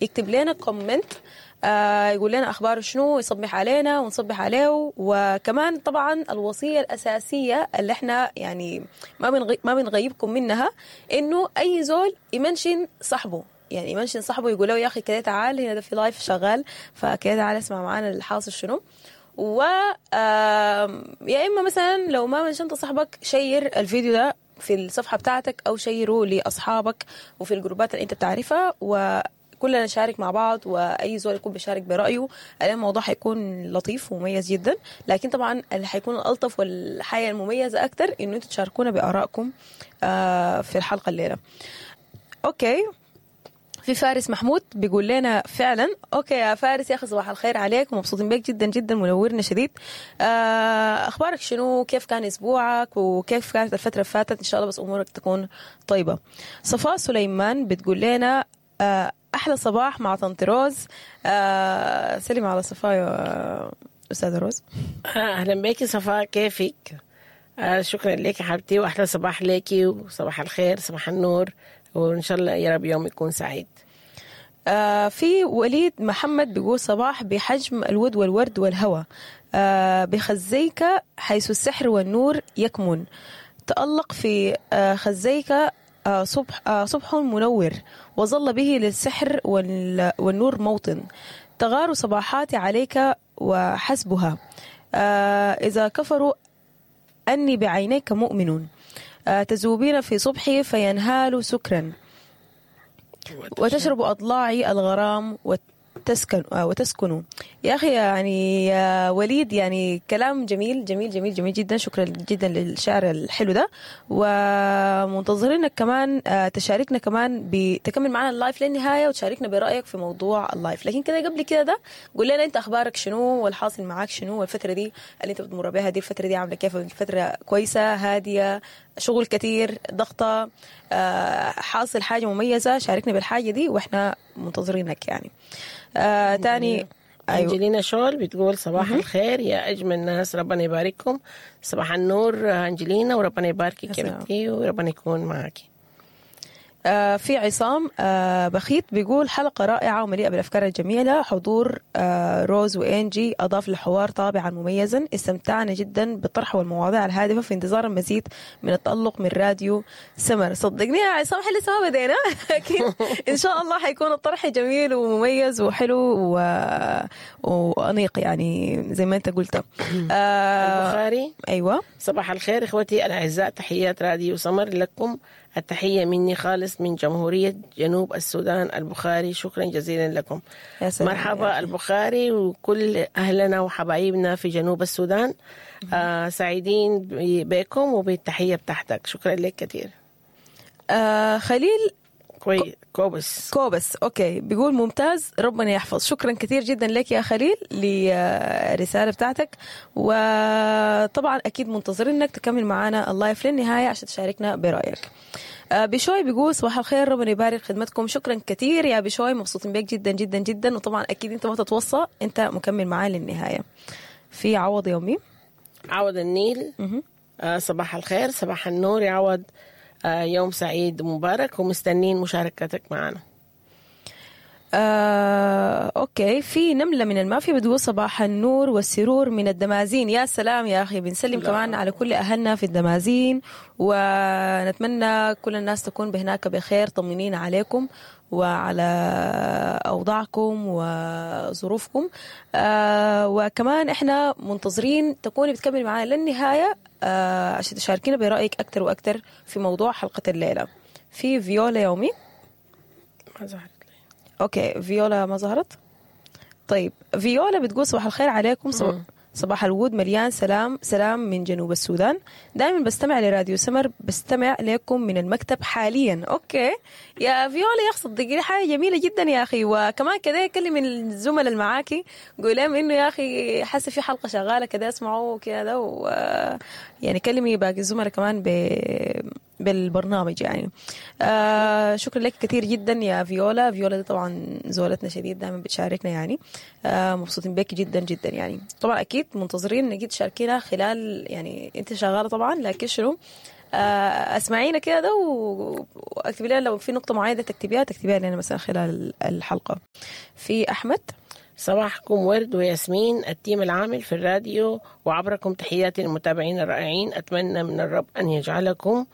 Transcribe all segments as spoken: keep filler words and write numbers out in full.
يكتب لنا comment، آه يقول لنا اخباره شنو، يصبح علينا ونصبح عليه. وكمان طبعا الوصية الاساسية اللي احنا يعني ما بنغي ما بنغيبكم منها، انه اي زول ي mention صاحبه، يعني ي mention صاحبه يقول له يا اخي كده تعال هنا، ده في live شغال، فكده تعال اسمع معانا الحاصل شنو. و يا اما مثلا لو ما mention ت صاحبك، share الفيديو ده في الصفحة بتاعتك او share ه لاصحابك وفي الجروبات اللي انت بتعرفها، وكلنا نشارك مع بعض، واي زول يكون بيشارك برايه. الموضوع حيكون لطيف ومميز جدا، لكن طبعا اللي حيكون الالطف والحاجة المميزة اكثر انه انتم تشاركونا بارائكم آه، في الحلقة الليلة. okay، في فارس محمود بيقول لنا فعلا. okay يا فارس يا اخي، صباح الخير عليك ومبسوطين بك جدا جدا، منورنا شديد. آه، اخبارك شنو؟ كيف كان اسبوعك وكيف كانت الفترة اللي فاتت؟ ان شاء الله بس امورك تكون طيبة. صفاء سليمان بتقول لنا آه، احلى صباح مع طنط روز. آه، سلم على صفاء يا استاذه روز. اهلا بك صفاء، كيفك؟ آه شكرا لك يا حبيبتي، واحلى صباح لك وصباح الخير، صباح النور، وان شاء الله يا رب يوم يكون سعيد. آه في وليد محمد بيقول صباح بحجم الود والورد والهوى، آه بخزيك حيث السحر والنور يكمن، تألق في آه خزيك آه صبح آه صبح منور، وظل به للسحر والنور موطن، تغار صباحاتي عليك وحسبها، آه إذا كفروا أني بعينيك مؤمن، آه تذوبين في صبحي فينهال سكرا، وتشرب أضلاعي الغرام وتسكن وتسكن. يا أخي يعني يا وليد، يعني كلام جميل جميل جميل جميل جدا. شكرا جدا للشعر الحلو ده، ومنتظرينك كمان تشاركنا كمان، بتكمل معنا ال live للنهاية وتشاركنا برأيك في موضوع ال live. لكن كده قبل كده ده قول لنا أنت أخبارك شنو والحاصل معاك شنو، والفترة دي اللي أنت بتمر بها دي الفترة دي عاملة كيف؟ الفترة كويسة، هادية، شغل كتير، ضغطة، حاصل حاجة مميزة؟ شاركنا بالحاجة دي وإحنا منتظرينك يعني. آه تاني أيوة. أنجلينا شول بتقول صباح الخير يا أجمل ناس، ربنا يبارككم. صباح النور أنجلينا، وربنا يباركك يا بنتي وربنا يكون معك. آه في عصام آه بخيت بيقول حلقة رائعة ومليئة بالأفكار الجميلة، حضور آه روز وإنجي أضاف للحوار طابعا مميزا، استمتعنا جدا بالطرح والمواضيع الهادفة، في انتظار المزيد من التألق من راديو سمر. صدقني يا عصام احنا لسه ما بدينا، لكن إن شاء الله حيكون الطرح جميل ومميز وحلو و... وأنيق يعني زي ما أنت قلت. آه البخاري. أيوة. صباح الخير إخوتي الأعزاء، تحيات راديو سمر لكم، التحية مني خالص من جمهورية جنوب السودان البخاري، شكرا جزيلا لكم. يا سلام. مرحبا البخاري وكل أهلنا وحبايبنا في جنوب السودان، آه سعيدين بكم وبالتحية بتاعتك، شكرا لك كثير. آه خليل كوي كوبس كوبس okay بيقول ممتاز، ربنا يحفظ. شكرا كثير جدا لك يا خليل للرسالة بتاعتك، وطبعا اكيد منتظرينك تكمل معنا ال live للنهاية عشان تشاركنا برايك. بشوي بيقول صباح الخير، ربنا يبارك خدمتكم. شكرا كثير يا بشوي، مبسوطين بك جدا جدا جدا، وطبعا اكيد انت ما تتوصى، انت مكمل معانا للنهاية. في عوض يومي، عوض النيل. آه صباح الخير، صباح النور يا عوض، آه يوم سعيد ومبارك، ومستنين مشاركتك معنا. آه، okay. في نملة من المافيا بتقول صباح النور والسرور من الدمازين. يا سلام يا أخي، بنسلم كمان على كل أهلنا في الدمازين، ونتمنى كل الناس تكون بهناك بخير. طمنين عليكم وعلى أوضاعكم وظروفكم. آه، وكمان إحنا منتظرين تكوني بتكمل معنا للنهاية آه، عشان تشاركينا برأيك أكتر وأكتر في موضوع حلقة الليلة. في فيولا يومي ما ظهرت. okay فيولا ما ظهرت. طيب فيولا بتقول صباح الخير عليكم، صباح الود مليان سلام، سلام من جنوب السودان، دائما بستمع لراديو سمر، بستمع لكم من المكتب حاليا. okay يا فيولا يا اخي، صدقيني حاجة جميلة جدا يا اخي. وكمان كده كلم الزملاء اللي معاكي، قول لهم انه يا اخي حاسه في حلقة شغالة كده اسمعوا كده، و يعني كلمي باقي الزملاء كمان ب بالبرنامج يعني. آه شكرا لك كثير جدا يا فيولا. فيولا دي طبعا زولتنا شديد، دائما بتشاركنا يعني، آه مبسوطين بك جدا جدا يعني. طبعا اكيد منتظرين انك تشاركينا خلال يعني انت شغالة طبعا، لكن شنو آه، اسمعينا كده ده و- واكتبي لنا لو في نقطة معينة تكتبيها تكتبيها لنا مثلا خلال الحلقة. في احمد. صباحكم ورد وياسمين، ال team العامل في الراديو، وعبركم تحياتي للمتابعين الرائعين. أتمنى من الرب أن يجعلكم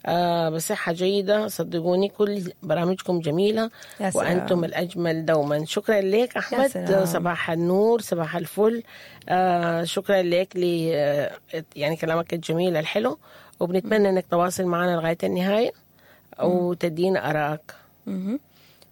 آه، بصحة جيدة. صدقوني كل برامجكم جميلة يا سلام. وأنتم الأجمل دوما. شكرا لك أحمد، سلام. صباح النور، صباح الفل. آه، شكرا لك ل آه، يعني كلامك الجميل الحلو، وبنتمنى أنك تواصل معنا لغاية النهاية وتدينا آرائك. مهم.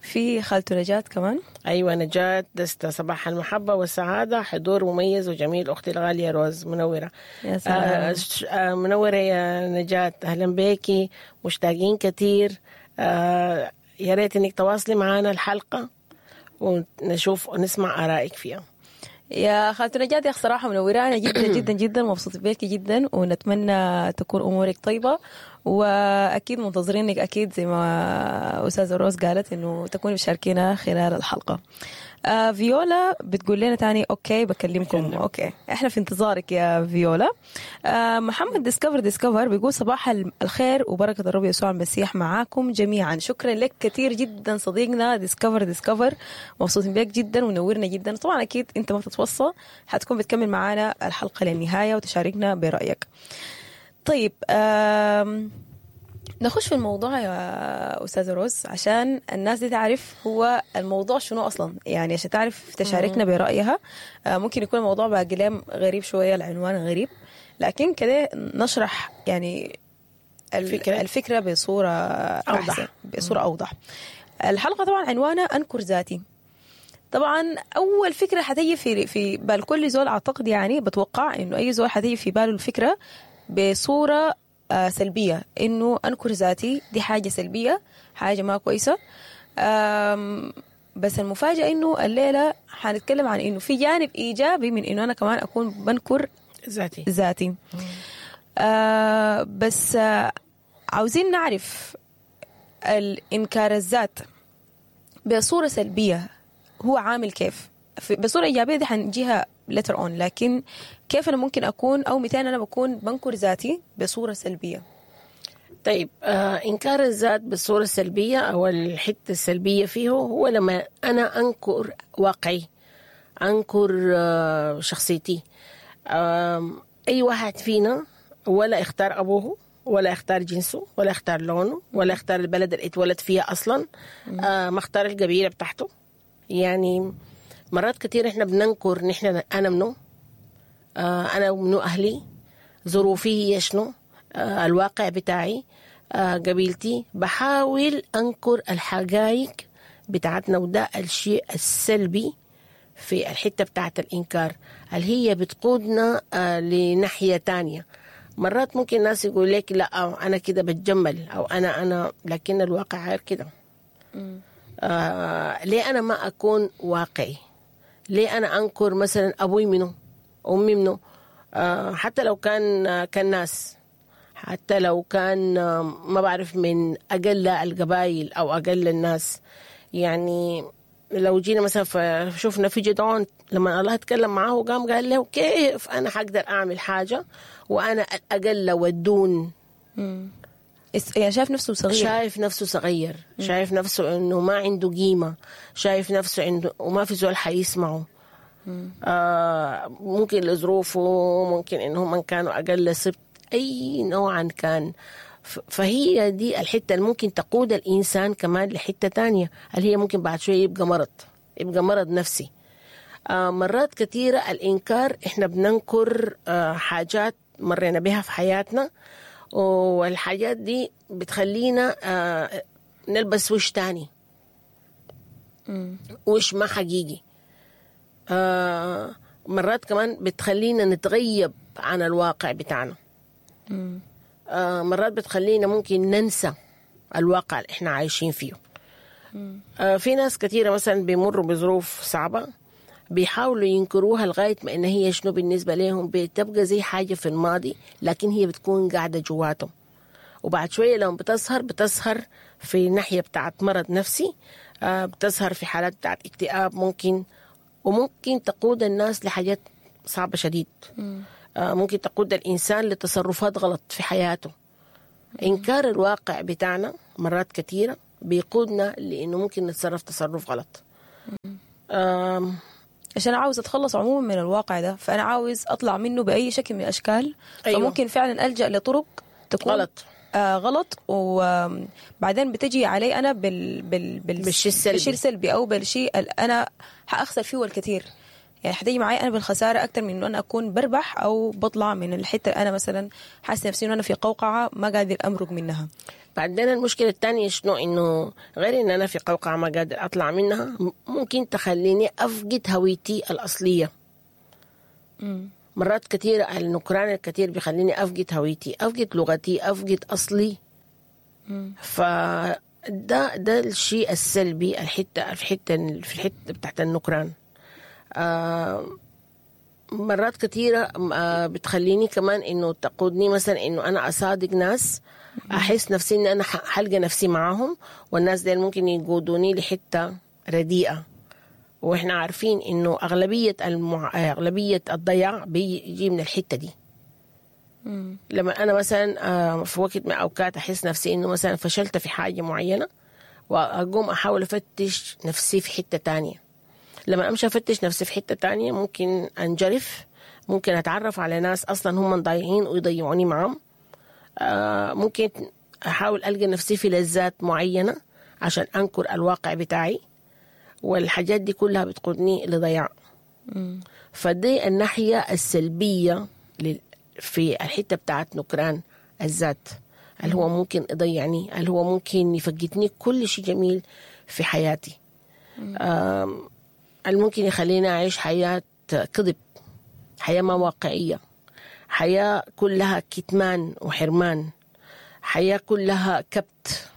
في خالته نجاة كمان. أيوة نجاة دستا، صباح المحبة والسعادة، حضور مميز وجميل أختي الغالية روز، منورة. يا سلام. آه ش- آه منورة يا نجاة، أهلا بيكي، مشتاقين كتير. آه يا ريت إنك تواصلي معنا الحلقة ونشوف ونسمع آرائك فيها. يا خالته نجاة يا أخ صراحة منورانا جدا جدا جدا، مبسوطة بيكي جدا، ونتمنى تكون أمورك طيبة، وأكيد منتظرينك أكيد زي ما أستاذة روز قالت إنه تكوني بتشاركينا خلال الحلقة. آه فيولا بتقول لنا تاني okay بكلمكم. بكلم. okay احنا في انتظارك يا فيولا. آه محمد ديسكفر ديسكفر بيقول صباح الخير وبركة الرب يسوع المسيح معاكم جميعا. شكرا لك كثير جدا صديقنا ديسكفر ديسكفر، مبسوطين بك جدا ونورنا جدا. طبعا اكيد انت ما بتتوصى، حتكون بتكمل معانا الحلقة للنهاية وتشاركنا برأيك. طيب آم نخش في الموضوع يا أستاذة روز عشان الناس دي تعرف هو الموضوع شنو أصلا، يعني عشان تعرف تشاركنا برأيها. آه، ممكن يكون الموضوع باقي غريب شوية، العنوان غريب، لكن كده نشرح يعني ال- الفكرة. الفكرة بصورة أوضح. أحسن، بصورة أوضح. الحلقة طبعا عنوانها أنكر ذاتي. طبعا اول فكرة حتيجي في في بال كل زول اعتقد، يعني بتوقع انه اي زول حتيجي في باله الفكرة بصورة آه، سلبية، انه انكر ذاتي دي حاجة سلبية، حاجة ما كويسة. آم، بس المفاجاة انه الليلة حنتكلم عن انه في جانب ايجابي من انه انا كمان اكون بنكر ذاتي. ذاتي. آه بس آه عاوزين نعرف الإنكار الذات بصورة سلبية هو عامل كيف. في- بصورة إيجابية دي حنجيها later on، لكن كيف أنا ممكن أكون أو متين أنا بكون بنكر ذاتي بصورة سلبية؟ طيب آه إنكار الذات بالصورة السلبية أو الحتة السلبية فيه هو لما أنا أنكر واقعي، أنكر آه شخصيتي. آم، أي واحد فينا ولا اختار أبوه ولا اختار جنسه ولا اختار لونه ولا اختار البلد اللي اتولد فيها أصلا، آه ما اختار القبيلة بتاعته. يعني مرات كتير احنا بننكر نحن أنا منو، آه، أنا منو أهلي، ظروفي هي شنو، آه، الواقع بتاعي، آه، قبيلتي. بحاول أنكر الحقائق بتاعتنا، وده الشيء السلبي في الحتة بتاعت الإنكار اللي هي بتقودنا آه، لناحية تانية. مرات ممكن الناس يقول لك لا أو أنا كده بتجمل أو أنا أنا لكن الواقع غير كده. آه ليه أنا ما أكون واقعي؟ ليه أنا أنكر مثلا أبوي منه، أمي منه، آه حتى لو كان آه، كان ناس، حتى لو كان آه، ما بعرف من أقل القبائل أو أقل الناس. يعني لو جينا مثلا فشوفنا في جدعون لما الله اتكلم معاه وقام قال له كيف أنا حقدر أعمل حاجة وأنا الأقل والدون. اس- يعني شايف نفسه صغير، شايف نفسه صغير، شايف نفسه انه ما عنده قيمة، شايف نفسه عنده وما في زول حيسمعه. آه ممكن لظروفه، ممكن انهم كانوا اقل سبت، اي نوعا كان. ف- فهي دي الحتة اللي ممكن تقود الانسان كمان لحته تانية، اللي هي ممكن بعد شوية يبقى مرض، يبقى مرض نفسي. آه، مرات كثيرة الإنكار إحنا بننكر آه، حاجات مرينا بها في حياتنا، والحاجات دي بتخلينا آه، نلبس وش تاني، وش ما حقيقي. آه، مرات كمان بتخلينا نتغيب عن الواقع بتاعنا. آه، مرات بتخلينا ممكن ننسى الواقع اللي احنا عايشين فيه. آه، في ناس كثيرة مثلا بيمروا بظروف صعبة بيحاولوا ينكروها لغاية ما إن هي شنو بالنسبة لهم بتبقى زي حاجة في الماضي، لكن هي بتكون قاعدة جواتهم. وبعد شوية لما بتظهر بتظهر في ناحية بتاعت مرض نفسي، آه، بتظهر في حالات بتاعت اكتئاب ممكن، وممكن تقود الناس لحاجات صعبة شديد. آه، ممكن تقود الإنسان لتصرفات غلط في حياته. إنكار الواقع بتاعنا مرات كثيرة بيقودنا لأنه ممكن نتصرف تصرف غلط. أم عشان عاوز أتخلص عموما من الواقع ده، فأنا عاوز أطلع منه بأي شكل من الأشكال. أيوة. فممكن فعلا ألجأ لطرق تكون غلط. آه غلط، وبعدين بتجي علي أنا بال بال بال بالشيء السلبي. بالشيء السلبي أو بالشيء اللي أنا حأخسر فيه الكثير. يعني حتيجي معي أنا بالخسارة أكتر من إنه أنا أكون بربح أو بطلع من الحتة اللي أنا مثلا حاسة نفسي إنه أنا في قوقعة ما قادر أمرق منها. بعدين المشكلة الثانية شنو؟ إنه غير إن أنا في قوقعة ما قادر أطلع منها، ممكن تخليني أفقد هويتي الأصلية. مم. مرات كثيرة النكران الكثير بيخليني أفقد هويتي، أفقد لغتي، أفقد أصلي. مم. فده ده الشيء السلبي، الحتة في الحتة في الحتة بتاعت النكران. آه مرات كثيرة آه بتخليني كمان إنه تقودني مثلا إنه أنا أصادق ناس، أحس نفسي إن أنا حلقة نفسي معاهم، والناس دي ممكن يقودوني لحتة رديئة. وإحنا عارفين إنه أغلبية المع... أغلبية الضياع بيجي من الحتة دي. مم. لما أنا مثلا في وقت من أوقات أحس نفسي إنه مثلا فشلت في حاجة معينة، وأقوم أحاول أفتش نفسي في حتة تانية. لما أمشي أفتش نفسي في حتة تانية ممكن أنجرف، ممكن أتعرف على ناس أصلا هم ضايعين ويضيعوني معهم. ممكن أحاول ألقى نفسي في لذات معينة عشان أنكر الواقع بتاعي، والحاجات دي كلها بتقودني لضياع. فدي الناحية السلبية في الحتة بتاعت نكران الذات، اللي هو ممكن يضيعني، اللي هو ممكن يفقدني كل شيء جميل في حياتي، اللي ممكن يخليني أعيش حياة كذب، حياة ما واقعية، حياة كلها كتمان وحرمان، حياة كلها كبت.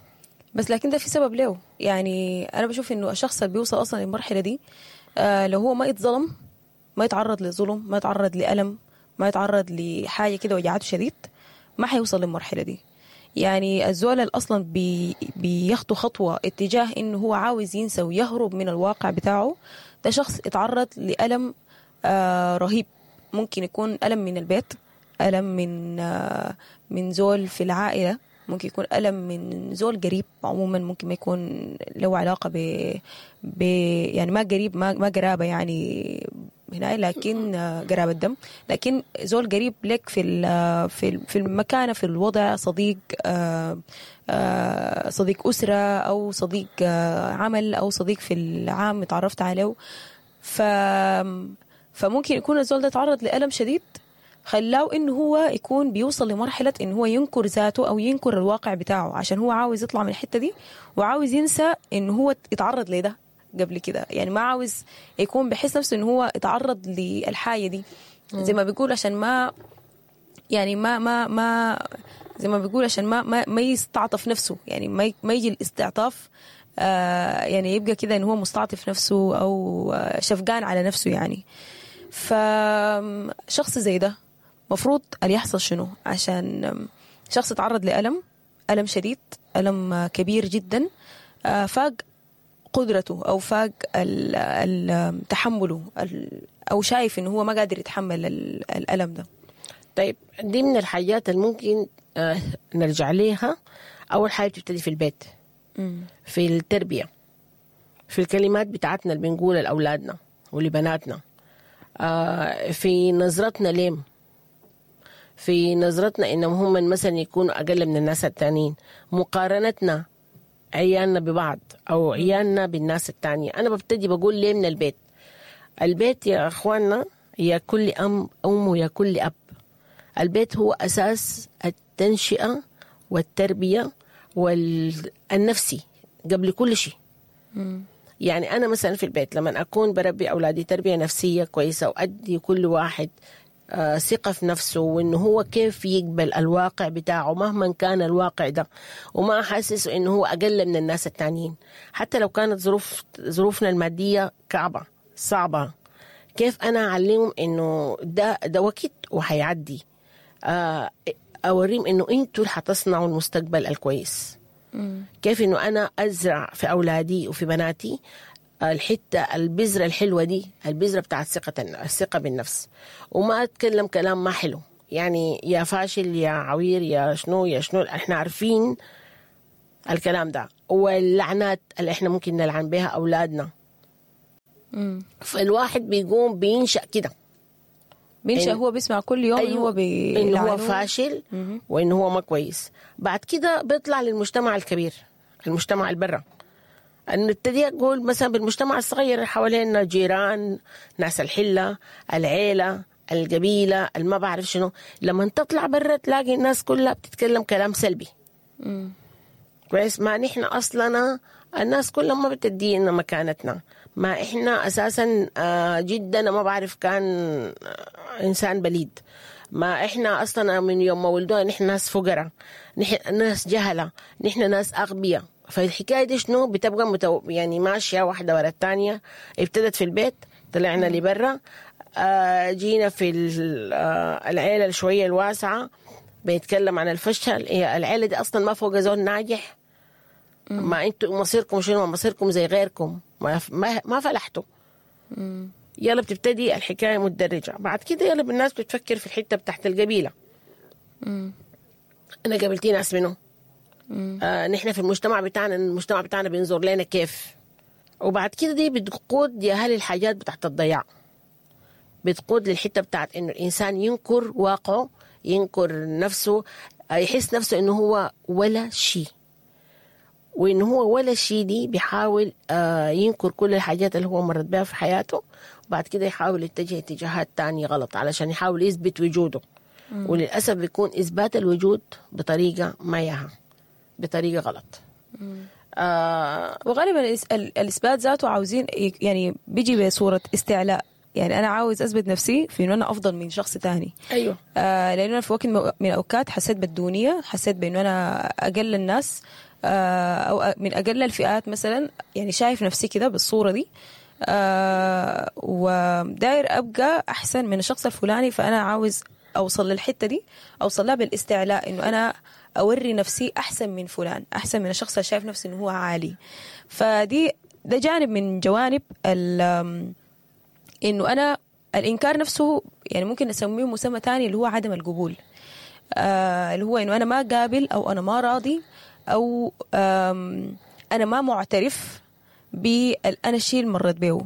بس لكن ده في سبب له. يعني أنا بشوف إنه الشخص اللي بيوصل أصلا للمرحلة دي، آه لو هو ما يتظلم، ما يتعرض لظلم، ما يتعرض لألم، ما يتعرض لحاجة كده وجعته شديد، ما حيوصل للمرحلة دي. يعني الزول اللي أصلا بي بياخدوا خطوة اتجاه إنه هو عاوز ينسى ويهرب من الواقع بتاعه، ده شخص اتعرض لألم آه رهيب. ممكن يكون ألم من البيت، ألم من آه من زول في العائلة، ممكن يكون ألم من زول قريب عموما، ممكن ما يكون له علاقة ب, ب يعني ما قريب، ما ما قرابة يعني هنا، لكن قرابة دم، لكن زول قريب لك في في في المكانة، في الوضع، صديق صديق أسرة أو صديق عمل أو صديق في العام اتعرفت عليه. ف فممكن يكون الزول ده تعرض لألم شديد خلاه إنه هو يكون بيوصل لمرحلة إنه هو ينكر ذاته أو ينكر الواقع بتاعه، عشان هو عاوز يطلع من الحتة دي وعاوز ينسى إنه هو اتعرض لده قبل كده. يعني ما عاوز يكون بحس نفسه إنه هو اتعرض للحاجة دي، زي ما بيقول عشان ما يعني ما ما ما زي ما بيقول عشان ما ما, ما يستعطف نفسه، يعني ما ما يجي الاستعطاف، آه يعني يبقى كده إنه هو مستعطف نفسه أو شفقان على نفسه يعني. فشخص زي ده مفروض اللي يحصل شنو؟ عشان شخص تعرض لألم، ألم شديد، ألم كبير جدا، فاق قدرته أو فاق تحمله، أو شايف إنه هو ما قادر يتحمل الألم ده. طيب دي من الحاجات اللي ممكن نرجع ليها. أول حاجة بتبتدي في البيت، في التربية، في الكلمات بتاعتنا اللي بنقولها لأولادنا ولبناتنا، في نظرتنا لهم، في نظرتنا إنهم هم مثلا يكونوا أقل من الناس التانيين، مقارنتنا عيالنا ببعض أو عيالنا بالناس التانية. أنا ببتدي بقول ليه من البيت. البيت يا أخواننا، يا كل أم أم ويا كل أب، البيت هو أساس التنشئة والتربية والنفسي قبل كل شيء. يعني أنا مثلا في البيت لما أكون بربي أولادي تربية نفسية كويسة، وأدي كل واحد ثقة في نفسه، وإنه هو كيف يقبل الواقع بتاعه مهما كان الواقع ده، وما أحسس إنه هو أقل من الناس التانيين حتى لو كانت ظروف ظروفنا المادية كعبة صعبة. كيف أنا أعلمهم إنه ده ده وقت وحيعدي، أوريهم إنه أنتوا اللي حتصنعوا المستقبل الكويس. كيف إنه أنا أزرع في أولادي وفي بناتي الحتة البذرة الحلوة دي، البذرة بتاعت ثقة الثقة بالنفس، وما أتكلم كلام ما حلو. يعني يا فاشل يا عوير يا شنو يا شنو، احنا عارفين الكلام ده، واللعنات اللي احنا ممكن نلعن بها اولادنا. مم. فالواحد بيقوم بينشأ كده، بينشأ إن- هو بيسمع كل يوم إنه هو انه هو بيلعنوه. فاشل وانه هو ما كويس. بعد كده بيطلع للمجتمع الكبير، المجتمع البرة. نبتدي اقول مثلا بالمجتمع الصغير اللي حوالينا، جيران، ناس الحلة، العيلة، القبيلة، الما بعرف شنو. لما تطلع برا تلاقي الناس كلها بتتكلم كلام سلبي. كويس، ما نحن اصلنا الناس كلها ما بتدينا مكانتنا، ما احنا اساسا آه، جدا ما بعرف كان آه، انسان بليد، ما احنا اصلا من يوم ما ولدونا نحن ناس فقراء، نحن ناس جهله، نحن ناس اغبياء. فالحكايه دي شنو بتبقى متو... يعني ماشية واحدة ورا الثانية. ابتدت في البيت، طلعنا لبرا، آه، جينا في ال- آه، العيلة شوية الواسعة، بيتكلم عن الفشل. هي العيلة دي اصلا ما فوق زول ناجح، ما انتوا مصيركم شنو؟ مصيركم زي غيركم، ما ما, ما فلحتوا. يلا بتبتدي الحكاية متدرجه. بعد كده يلا الناس بتفكر في الحتة بتاعت القبيلة. انا قابلتي ناس منه، آه نحن في المجتمع بتاعنا، المجتمع بتاعنا بينظر لنا كيف. وبعد كده دي بتقود يا هل الحاجات بتاعت الضياع، بتقود للحتة بتاعت انه الانسان ينكر واقعه، ينكر نفسه، آه، يحس نفسه انه هو ولا شيء، وإن هو ولا شيء دي بيحاول آه، ينكر كل الحاجات اللي هو مرت بها في حياته. وبعد كده يحاول يتجه اتجاهات تانية غلط علشان يحاول يثبت وجوده. وللأسف بيكون إثبات الوجود بطريقة ما ياها، بطريقة غلط. آه وغالبا الإس- ال- الاثبات ذاته عاوزين ي- يعني بيجي بصورة استعلاء، يعني انا عاوز اثبت نفسي في انه انا افضل من شخص تاني. أيوه آه لانه انا في وقت من الاوقات حسيت بالدونيه، حسيت بانه انا اقل الناس، آه او من اقل الفئات مثلا، يعني شايف نفسي كده بالصورة دي، آه وداير ابقى احسن من الشخص الفلاني، فانا عاوز اوصل للحتة دي، اوصل لها بالاستعلاء، انه انا اوري نفسي احسن من فلان، احسن من الشخص اللي شايف نفسه انه هو عالي. فدي ده جانب من جوانب ال انه انا الانكار نفسه، يعني ممكن نسميه مسمى تاني اللي هو عدم القبول، آه اللي هو انه انا ما قابل، او انا ما راضي، او آم، انا ما معترف بالانا الشيء اللي مريت بيه.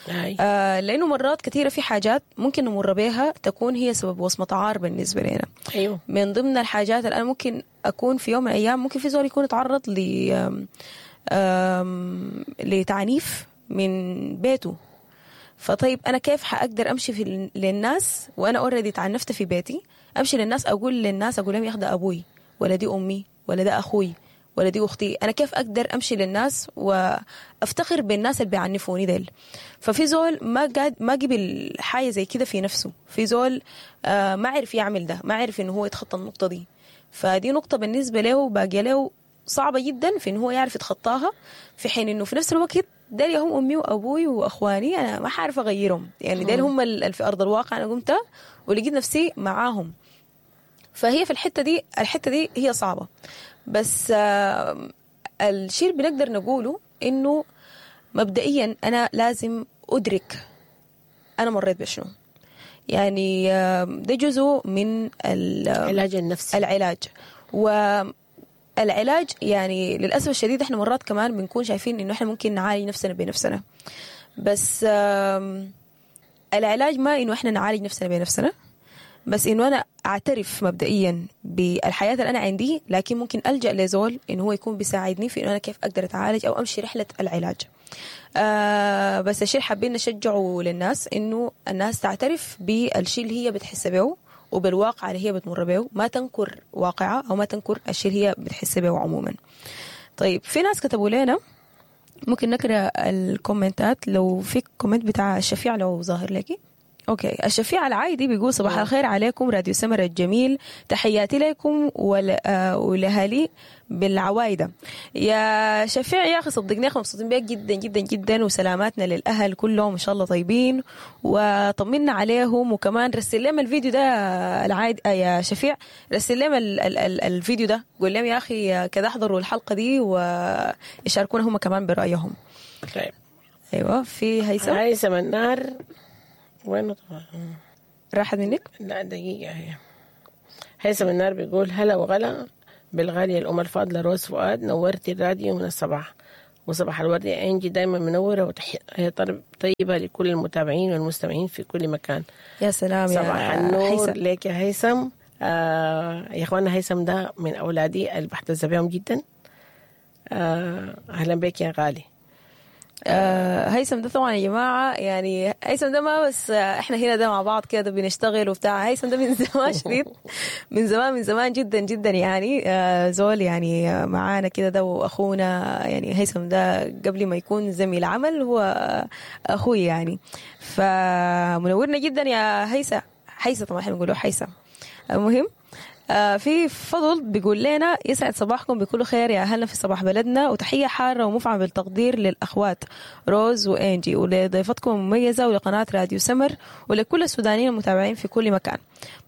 هاي. آه لانه مرات كثيرة في حاجات ممكن نمر بيها تكون هي سبب وصمة عار بالنسبة لنا. أيوه من ضمن الحاجات اللي انا ممكن اكون في يوم من الايام ممكن في زول يكون اتعرض ل آم، آم، لتعنيف من بيته، فطيب انا كيف حاقدر امشي في ال- للناس وانا already تعنفت في بيتي؟ امشي للناس اقول للناس، اقول لهم يا أخي ده ابوي، ولا دي امي، ولا ده اخوي، ولا دي اختي. انا كيف اقدر امشي للناس وافتخر بالناس اللي بيعنفوني ديل؟ ففي زول ما قاد ما قبل حاجة زي كده في نفسه، في زول آه ما عرف يعمل ده، ما عرف انه هو يتخطى النقطة دي. فدي نقطة بالنسبة له باقية له صعبة جدا في انه هو يعرف يتخطاها، في حين انه في نفس الوقت ديل هم امي وابوي واخواني، انا ما حعرف اغيرهم، يعني ديل هم ال- في ارض الواقع انا قمت ولقيت نفسي معاهم. فهي في الحتة دي، الحتة دي هي صعبة، بس آه، الشيء اللي بنقدر نقوله انه مبدئيا انا لازم ادرك انا مريت بشنو، يعني آه، ده جزء من ال- العلاج النفسي. العلاج. والعلاج يعني للأسف الشديد احنا مرات كمان بنكون شايفين انه احنا ممكن نعالج نفسنا بنفسنا، بس آم، العلاج ما انه احنا نعالج نفسنا بنفسنا، بس انه انا اعترف مبدئيا بالحياة اللي انا عندي، لكن ممكن الجا لزول انه هو يكون بيساعدني في انه انا كيف اقدر اتعالج او امشي رحله العلاج. آه بس الشيء اللي حابين نشجعه للناس انه الناس تعترف بالشيء اللي هي بتحس به وبالواقع اللي هي بتمر به، ما تنكر واقعها او ما تنكر الشيء اللي هي بتحس به عموما. طيب في ناس كتبوا لنا، ممكن نقرا الكومنتات لو في comment بتاع الشفيع لو ظاهر لك. okay، الشفيع العايدي بيقول صباح الخير عليكم راديو سمر الجميل، تحياتي لكم ول... آه، ولأهالي بالعوايده. يا شفيع يا اخي صدقني اخي مبسوطين بيك جدا جدا جدا، وسلاماتنا للاهل كلهم ان شاء الله طيبين، وطمنا عليهم. وكمان رسل لهم الفيديو ده العايد آه، يا شفيع، رسل لهم ال... ال... ال... الفيديو ده، قول لهم يا اخي كده احضروا الحلقة دي ويشاركونا هم كمان برايهم. طيب ايوه في هيثم هيثم النار وين طبعا؟ راحت منك؟ لا دقيقة هي. هيثم النار بيقول هلا وغلا بالغالية الأم الفاضلة روز فؤاد، نورتي الراديو من الصباح، وصباح الورد يا إنجي، دايما منورة وتحية طيبة لكل المتابعين والمستمعين في كل مكان. يا سلام يا صباح النور هيثم. لك يا هيثم. آه يا اخوانا هيثم ده من أولادي اللي بحتز بهم جدا. آه أهلا بك يا غالي. آه هيثم ده طبعا يا جماعة، يعني هيثم ده ما بس آه، احنا هنا ده مع بعض كده بنشتغل وبتاع، هيثم ده من زمان شديد، من زمان من زمان جدا جدا يعني، آه زول يعني آه، معانا كده ده واخونا يعني. هيثم ده قبل ما يكون زميل عمل هو اخوي يعني، فمنورنا جدا يا هيثم. هيثم طبعا احنا بنقوله هيثم. المهم آه، في فضل بيقول لنا يسعد صباحكم بكل خير يا أهلنا في صباح بلدنا، وتحية حارة ومفعمة بالتقدير للأخوات روز وإنجي ولضيفتكم المميزة ولقناة راديو سمر ولكل السودانيين المتابعين في كل مكان.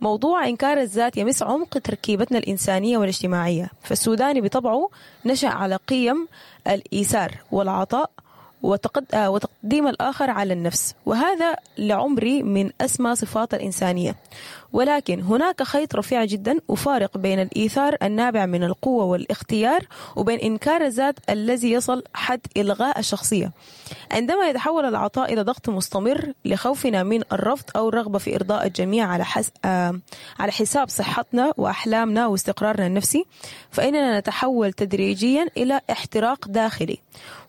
موضوع إنكار الذات يمس عمق تركيبتنا الإنسانية والاجتماعية، فالسوداني بطبعه نشأ على قيم الإيثار والعطاء وتقد... آه، وتقديم الآخر على النفس، وهذا لعمري من أسمى صفات الإنسانية. ولكن هناك خيط رفيع جدا وفارق بين الإيثار النابع من القوة والاختيار وبين إنكار الذات الذي يصل حد إلغاء الشخصية. عندما يتحول العطاء إلى ضغط مستمر لخوفنا من الرفض أو الرغبة في إرضاء الجميع على حس... آه، على حساب صحتنا وأحلامنا واستقرارنا النفسي، فإننا نتحول تدريجيا إلى احتراق داخلي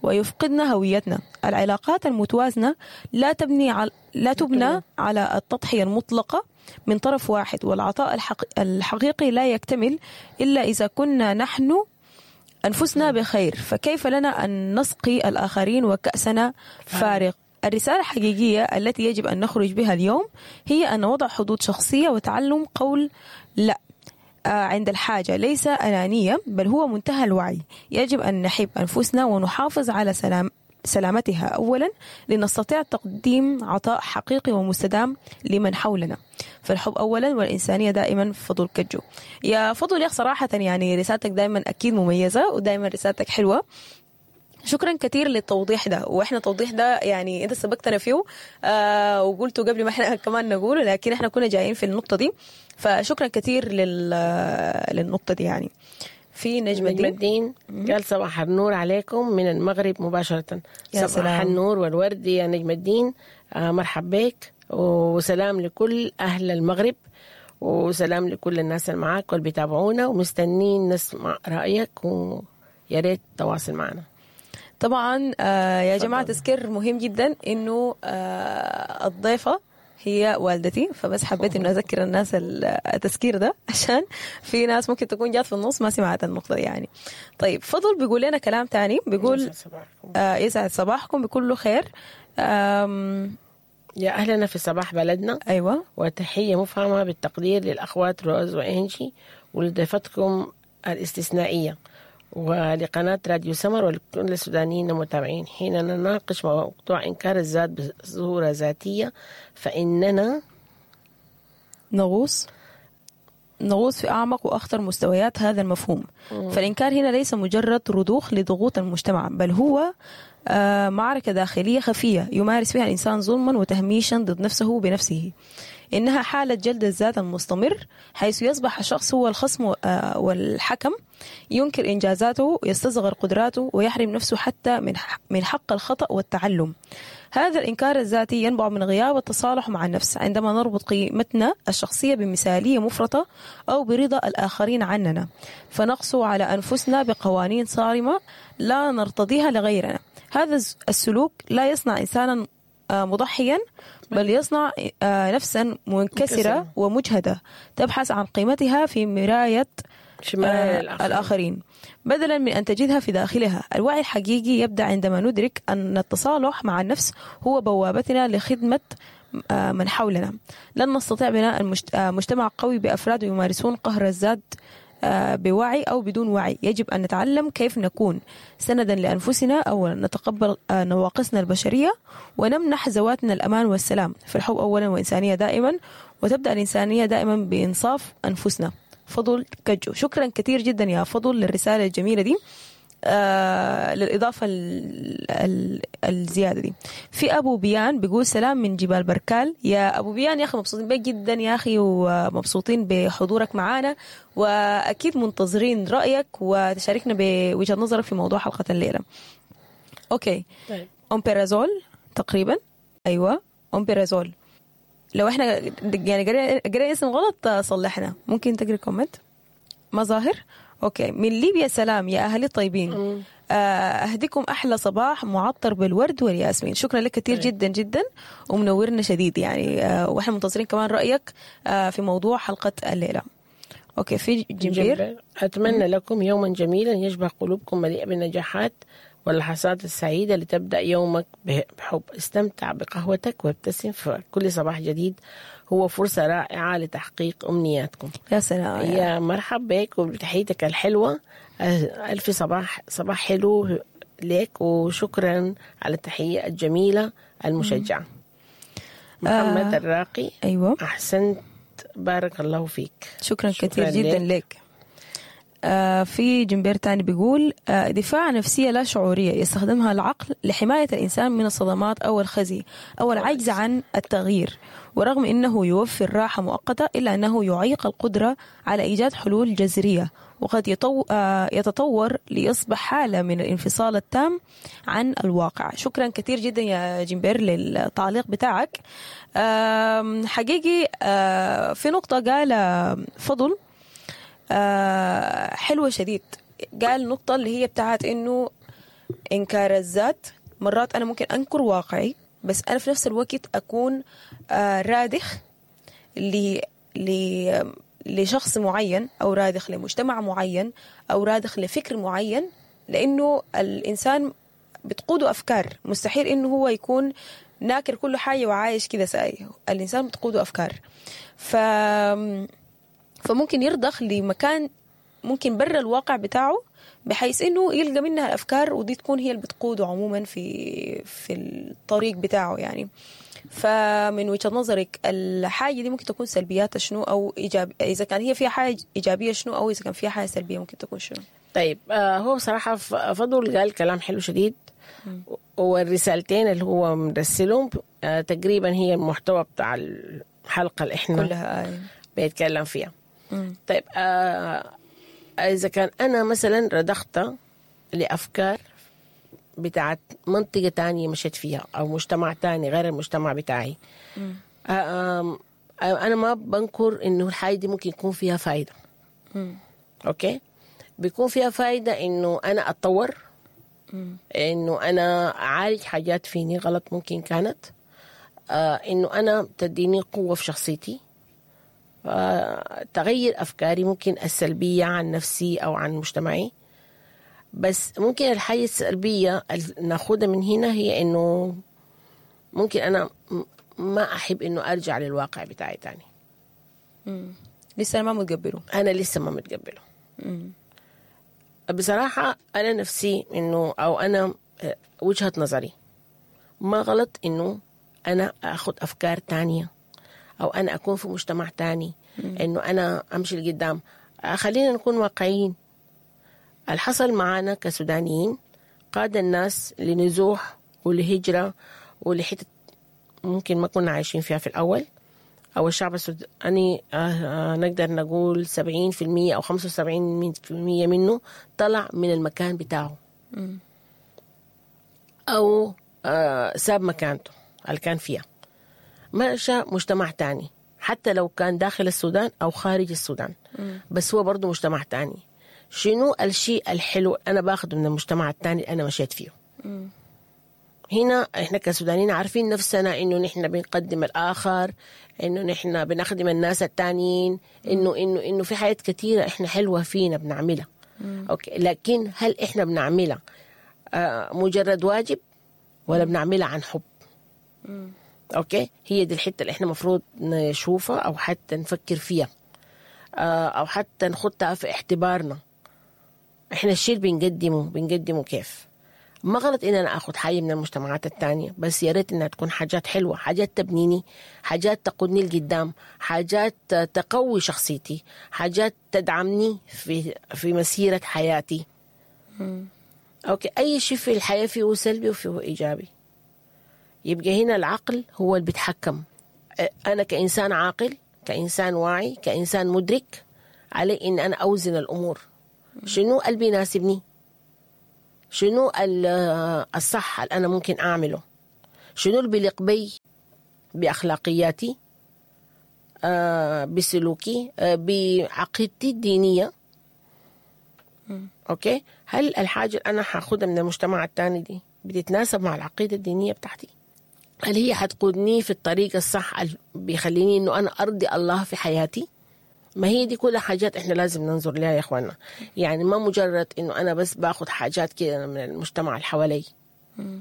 ويفقدنا هويتنا. العلاقات المتوازنة لا تبني على لا تبنى على التضحية المطلقة من طرف واحد، والعطاء الحق... الحقيقي لا يكتمل إلا إذا كنا نحن أنفسنا بخير، فكيف لنا أن نسقي الآخرين وكأسنا فارغ؟ الرسالة الحقيقية التي يجب أن نخرج بها اليوم هي أن وضع حدود شخصية وتعلم قول لا آه، عند الحاجة ليس أنانية، بل هو منتهى الوعي. يجب أن نحب أنفسنا ونحافظ على سلام سلامتها أولا لنستطيع تقديم عطاء حقيقي ومستدام لمن حولنا. فالحب أولا والإنسانية دائما. فضل كجو يا فضل يا أخ، صراحة يعني رسالتك دائما أكيد مميزة ودائما رسالتك حلوة. شكرا كثير للتوضيح ده، واحنا التوضيح ده يعني انت سبقتنا فيه آه وقلته قبل ما احنا كمان نقوله، لكن احنا كنا جايين في النقطة دي، فشكرا كثير لل للنقطة دي يعني. في نجم نجم الدين الدين قال صباح النور عليكم من المغرب مباشرة. يا صباح سلام. النور والورد يا نجم الدين، آه مرحب بك، وسلام لكل أهل المغرب، وسلام لكل الناس اللي معاك واللي بيتابعونا ومستنين نسمع رأيك، ويا ريت تواصل معنا. طبعا آه يا جماعة تذكير مهم جدا انه آه الضيفة هي والدتي، فبس حبيت انه اذكر الناس التذكير ده عشان في ناس ممكن تكون جات في النص ما سمعت النقطة دي يعني. طيب فضل بيقول لنا كلام تاني، بيقول يسعد صباحكم. آه يسعد صباحكم بكل خير. آم يا أهلنا في صباح بلدنا، ايوه وتحية مفهمة بالتقدير للأخوات روز وإنجي ولضيفتكم الاستثنائية ولقناة راديو سمر ولكل السودانيين المتابعين. حين نناقش موضوع إنكار الذات بصورة ذاتية فإننا نغوص نغوص في أعمق وأخطر مستويات هذا المفهوم. فالإنكار هنا ليس مجرد رضوخ لضغوط المجتمع، بل هو آه، معركة داخلية خفية يمارس فيها الإنسان ظلما وتهميشا ضد نفسه بنفسه. إنها حالة جلد الذات المستمر، حيث يصبح الشخص هو الخصم آه، والحكم، ينكر إنجازاته، يستصغر قدراته، ويحرم نفسه حتى من من حق الخطأ والتعلم. هذا الإنكار الذاتي ينبع من غياب التصالح مع النفس. عندما نربط قيمتنا الشخصية بمثالية مفرطة أو برضا الآخرين عننا، فنقسو على أنفسنا بقوانين صارمة لا نرتضيها لغيرنا. هذا الس- السلوك لا يصنع إنسانا آه، مضحيا، بل يصنع آه، نفسا منكسرة منكسرة. ومجهدة تبحث عن قيمتها في مراية شمال آه، الآخرين. الآخرين بدلا من أن تجدها في داخلها. الوعي الحقيقي يبدأ عندما ندرك أن التصالح مع النفس هو بوابتنا لخدمة آه، من حولنا. لن نستطيع بناء المجت- آه، مجتمع قوي بأفراد يمارسون قهر الذات آه، بوعي أو بدون وعي. يجب أن نتعلم كيف نكون سندا لأنفسنا أولا، نتقبل آه، نواقصنا البشرية، ونمنح ذواتنا الأمان والسلام. فالحب أولا وإنسانية دائما، وتبدأ الإنسانية دائما بإنصاف أنفسنا. فضل كجو، شكرا كثير جدا يا فضل للرسالة الجميلة دي. آه للإضافة ال ال الزيادة دي. في أبو بيان بيقول سلام من جبال بركال. يا أبو بيان يا أخي مبسوطين بك جدا يا أخي، ومبسوطين بحضورك معانا، وأكيد منتظرين رأيك وتشاركنا بوجهة نظرك في موضوع حلقة الليلة. okay. طيب. أمبرازول تقريبا، أيوة أمبرازول. لو احنا يعني قرينا قرينا اسم غلط صلحنا، ممكن تقري comment ما ظاهر. okay. من ليبيا سلام يا اهلي الطيبين، اهديكم احلى صباح معطر بالورد والياسمين. شكرا لك كثير جدا جدا ومنورنا شديد يعني، آه، واحنا منتظرين كمان رايك آه، في موضوع حلقة الليلة. okay. في جمبير، أتمنى لكم يوما جميلا يشبه قلوبكم مليئة بالنجاحات واللحظات السعيدة لتبدأ يومك بحب. استمتع بقهوتك وابتسم، فكل صباح جديد هو فرصة رائعة لتحقيق أمنياتكم. يا سلام يا مرحب بك وبتحيتك الحلوة. ألف صباح صباح حلو لك، وشكرا على التحية الجميلة المشجعة. محمد آه الراقي، أيوة أحسنت، بارك الله فيك. شكرا, شكرا كثير جدا لك. آه في جنبير تاني بيقول آه دفاع نفسية لا شعورية يستخدمها العقل لحماية الإنسان من الصدمات أو الخزي أو العجز عن التغيير، ورغم أنه يوفر راحة مؤقتة إلا أنه يعيق القدرة على إيجاد حلول جذرية، وقد يطو... آه يتطور ليصبح حالة من الانفصال التام عن الواقع. شكرا كثير جدا يا جنبير للتعليق بتاعك. آه حقيقي آه في نقطة قال فضل آه حلوة شديد، قال نقطة اللي هي بتاعت إنه إنكار الذات. مرات أنا ممكن أنكر واقعي، بس أنا في نفس الوقت أكون آه رادخ ل ل لشخص معين، أو رادخ لمجتمع معين، أو رادخ لفكر معين، لأنه الإنسان بتقوده أفكار، مستحيل إنه هو يكون ناكر كل حاجة وعايش كده ساي. الإنسان بتقوده أفكار، ف فممكن يرضخ لمكان ممكن برا الواقع بتاعه، بحيث انه يلقى منها الافكار، ودي تكون هي اللي بتقوده عموما في في الطريق بتاعه يعني. فمن وجهة نظرك الحاجة دي ممكن تكون سلبياتها شنو، او ايجاب اذا كان هي فيها حاجة ايجابية شنو، او اذا كان فيها حاجة سلبية ممكن تكون شنو؟ طيب آه هو بصراحة فضل قال كلام حلو شديد، والرسالتين اللي هو مرسلهم آه تقريبا هي المحتوى بتاع الحلقة اللي احنا كلها آه. بيتكلم فيها. مم. طيب آه إذا كان أنا مثلا رضخت لأفكار بتاعت منطقة تانية مشيت فيها أو مجتمع تاني غير المجتمع بتاعي، آه آه أنا ما بنكر إنه الحاجة دي ممكن يكون فيها فايدة. مم. okay، بيكون فيها فايدة إنه أنا أتطور، مم. إنه أنا أعالج حاجات فيني غلط ممكن كانت، آه إنه أنا تديني قوة في شخصيتي، تغير أفكاري ممكن السلبية عن نفسي أو عن مجتمعي. بس ممكن الحاجة السلبية ناخدها من هنا هي إنه ممكن أنا ما أحب إنه أرجع للواقع بتاعي تاني. مم. لسه أنا ما متقبله. أنا لسه ما متقبله. مم. بصراحة أنا نفسي إنه أو أنا وجهة نظري ما غلط إنه أنا أخذ أفكار تانية، أو أنا أكون في مجتمع تاني، إنه أنا أمشي لقدام. خلينا نكون واقعيين، الحصل معانا كسودانيين قاد الناس لنزوح ولهجرة ولحتة ممكن ما كنا عايشين فيها في الأول، أو الشعب السوداني نقدر نقول سبعين في المية أو خمسة وسبعين في المية منه طلع من المكان بتاعه أو ساب مكانته اللي كان فيها، مشى مجتمع تاني حتى لو كان داخل السودان أو خارج السودان. مم. بس هو برضو مجتمع تاني. شنو الشيء الحلو أنا باخده من المجتمع التاني اللي أنا مشيت فيه؟ مم. هنا إحنا كسودانيين عارفين نفسنا إنه نحن بنقدم الآخر، إنه نحن بنخدم الناس التانيين، إنه إنه إنه في حاجات كثيرة إحنا حلوة فينا بنعملها. مم. okay، لكن هل إحنا بنعملها آه مجرد واجب ولا بنعملها عن حب؟ مم. okay، هي دي الحتة اللي احنا مفروض نشوفها او حتى نفكر فيها، او حتى نخطها في اعتبارنا. احنا الشيء اللي بنقدمه بنقدمه كيف؟ ما غلط ان انا اخذ حاجة من المجتمعات التانية، بس يا ريت انها تكون حاجات حلوة، حاجات تبنيني، حاجات تقودني لقدام، حاجات تقوي شخصيتي، حاجات تدعمني في في مسيره حياتي. مم. okay، اي شيء في الحياة فيه سلبي وفيه ايجابي. يبقى هنا العقل هو اللي بيتحكم. انا كانسان عاقل، كانسان واعي، كانسان مدرك، علي ان انا اوزن الامور. شنو اللي بيناسبني؟ شنو الصح اللي انا ممكن اعمله؟ شنو اللي بيليق بي باخلاقياتي، آه بسلوكي، آه بعقيدتي الدينية؟ okay، هل الحاجة اللي انا حاخدها من المجتمع الثاني دي بتتناسب مع العقيدة الدينية بتاعتي؟ هل هي حتقودني في الطريق الصح اللي بيخليني انه انا ارضي الله في حياتي؟ ما هي دي كلها حاجات احنا لازم ننظر لها يا اخوانا. يعني ما مجرد انه انا بس باخد حاجات كده من المجتمع اللي حوالي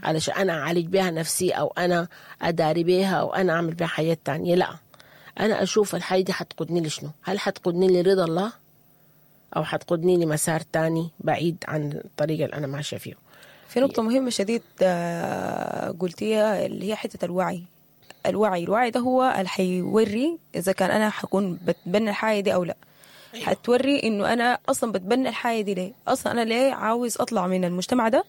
علشان انا اعالج بها نفسي او انا اداري بها او انا اعمل بها حاجات تانية. لا، انا اشوف الحاجة دي حتقودني لشنو؟ هل حتقودني لرضا الله او حتقودني لمسار تاني بعيد عن الطريق اللي انا ماشية فيه؟ في نقطة مهمة شديد قلتيها اللي هي حتة الوعي. الوعي الوعي ده هو اللي حيوري إذا كان أنا حكون بتبنى الحاجة دي أو لا. أيوة. حتوري إنه أنا أصلا بتبنى الحاجة دي ليه؟ أصلا أنا ليه عاوز أطلع من المجتمع ده؟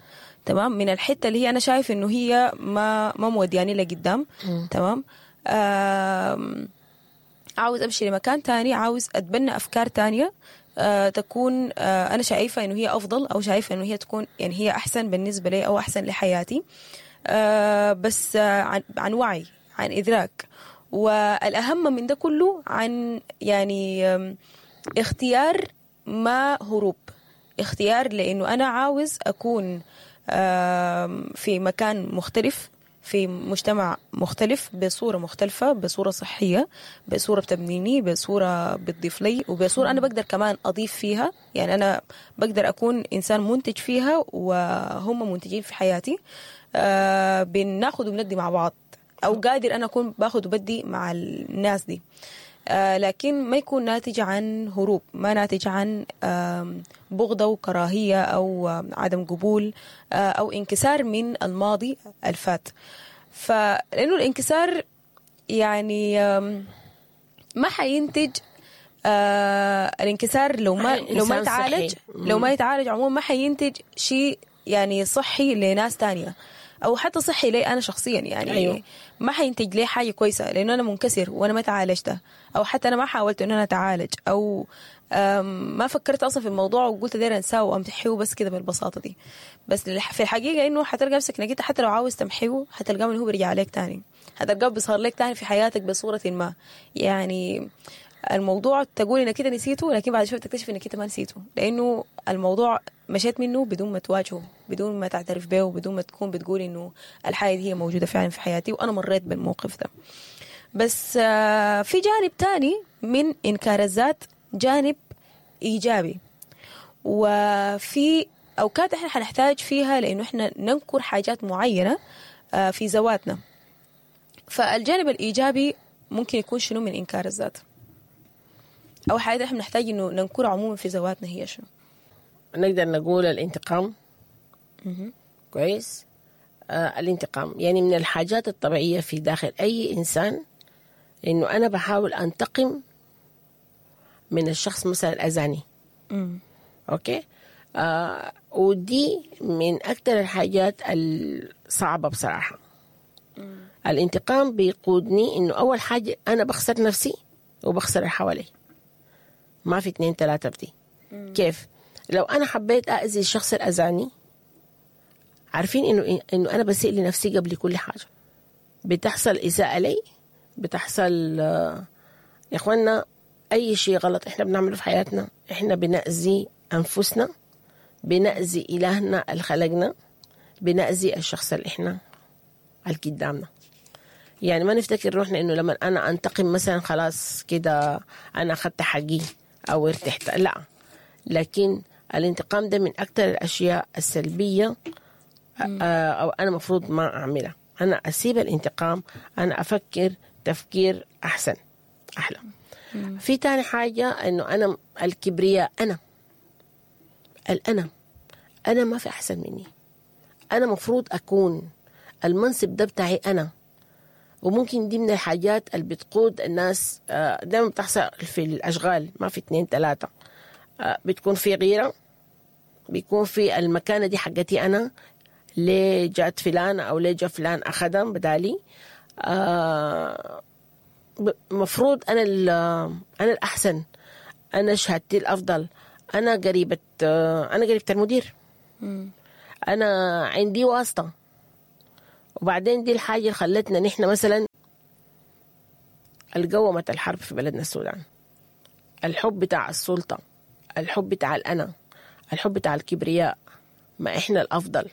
تمام، من الحتة اللي هي أنا شايف إنه هي ما ما مودياني لقدام. تمام، عاوز أمشي لمكان تاني، عاوز أتبنى أفكار تانية آه، تكون آه، أنا شايفة إنه هي أفضل، أو شايفة إنه هي تكون يعني هي أحسن بالنسبة لي أو أحسن لحياتي، آه، بس آه، عن, عن وعي، عن إدراك، والأهم من ده كله عن يعني آه، اختيار ما هروب، اختيار لأنه أنا عاوز أكون آه، في مكان مختلف، في مجتمع مختلف، بصورة مختلفة، بصورة صحية، بصورة بتبنيني، بصورة بتضيف لي، وبصورة أنا بقدر كمان أضيف فيها. يعني أنا بقدر أكون إنسان منتج فيها وهم منتجين في حياتي. آه بناخد وبندي مع بعض، أو قادر أنا أكون باخد وبدي مع الناس دي، آه لكن ما يكون ناتج عن هروب، ما ناتج عن آه بغضة وكراهية أو آه عدم قبول، آه أو انكسار من الماضي الفات. فلأنه الانكسار يعني آه ما حينتج، آه الانكسار لو ما لو ما يتعالج، لو ما يتعالج عموما ما حينتج شيء يعني صحي لناس تانية، أو حتى صحي لي أنا شخصيا. يعني أيوه. ما حينتج لي حاجة كويسة لأنه أنا منكسر وأنا ما تعالجته، أو حتى أنا ما حاولت إن أنا أتعالج، أو ما فكرت أصلا في الموضوع وقلت داير أنساه وأمحيه بس كده بالبساطة دي. بس في الحقيقة إنه حتلقى نفسك إنك أنت حتى لو عاوز تمحيه حتلقاه إنه هو بيرجع عليك تاني، حتلقاه بيظهر لك تاني في حياتك بصورة ما. يعني الموضوع تقول إنك كده نسيته، لكن بعد شوية تكتشف إنك أنت ما نسيته، لأنه الموضوع مشيت منه بدون ما تواجهه، بدون ما تعترف به، وبدون ما تكون بتقول إنه الحاجة دي هي موجودة فعلا في حياتي وأنا مريت بالموقف ده. بس في جانب تاني من إنكار الذات، جانب إيجابي، وفي أوقات إحنا حنحتاج فيها لأنه إحنا ننكر حاجات معينة في ذواتنا. فالجانب الإيجابي ممكن يكون شنو من إنكار الذات؟ أو حاجة إحنا بنحتاج إنه ننكر عموما في ذواتنا هي شنو؟ نقدر نقول الانتقام. كويس. آه الانتقام يعني من الحاجات الطبيعية في داخل أي إنسان، إنه أنا بحاول أنتقم من الشخص مثلا أذاني. okay. آه ودي من أكثر الحاجات الصعبة بصراحة. مم. الانتقام بيقودني إنه أول حاجة أنا بخسر نفسي وبخسر اللي حوالي، ما في اثنين ثلاثة بدي. مم. كيف؟ لو أنا حبيت أأذي الشخص الأذاني، عارفين إنه إنه أنا بسيء لنفسي قبل كل حاجة. بتحصل إساءة لي، بتحصل آه يا إخوانا أي شيء غلط إحنا بنعمله في حياتنا إحنا بنأذي أنفسنا، بنأذي إلهنا اللي خلقنا، بنأذي الشخص اللي إحنا اللي قدامنا. يعني ما نفتكر روحنا إنه لما أنا أنتقم مثلا خلاص كده أنا أخذت حقي أو ارتحت، لا. لكن الانتقام ده من أكثر الأشياء السلبية، أو أنا مفروض ما أعملها. أنا أسيب الانتقام، أنا أفكر تفكير أحسن أحلى. مم. في تاني حاجة إنه أنا الكبرياء، أنا الأنا أنا ما في أحسن مني، أنا مفروض أكون المنصب ده بتاعي أنا. وممكن دي من الحاجات اللي بتقود الناس، دائما بتحصل في الأشغال، ما في اثنين ثلاثة، بتكون في غيرة بيكون في المكانة دي حقتي أنا، ليه جات فلان أو ليه جا فلان أخدها بدالي. آه مفروض أنا أنا الأحسن، أنا شهادتي الأفضل، أنا قريبة، أنا قريبة المدير، أنا عندي واسطة. وبعدين دي الحاجة اللي خلتنا نحن مثلا القومة الحرب في بلدنا السودان، الحب بتاع السلطة، الحب بتاع الأنا، الحب بتاع الكبرياء، ما إحنا الأفضل،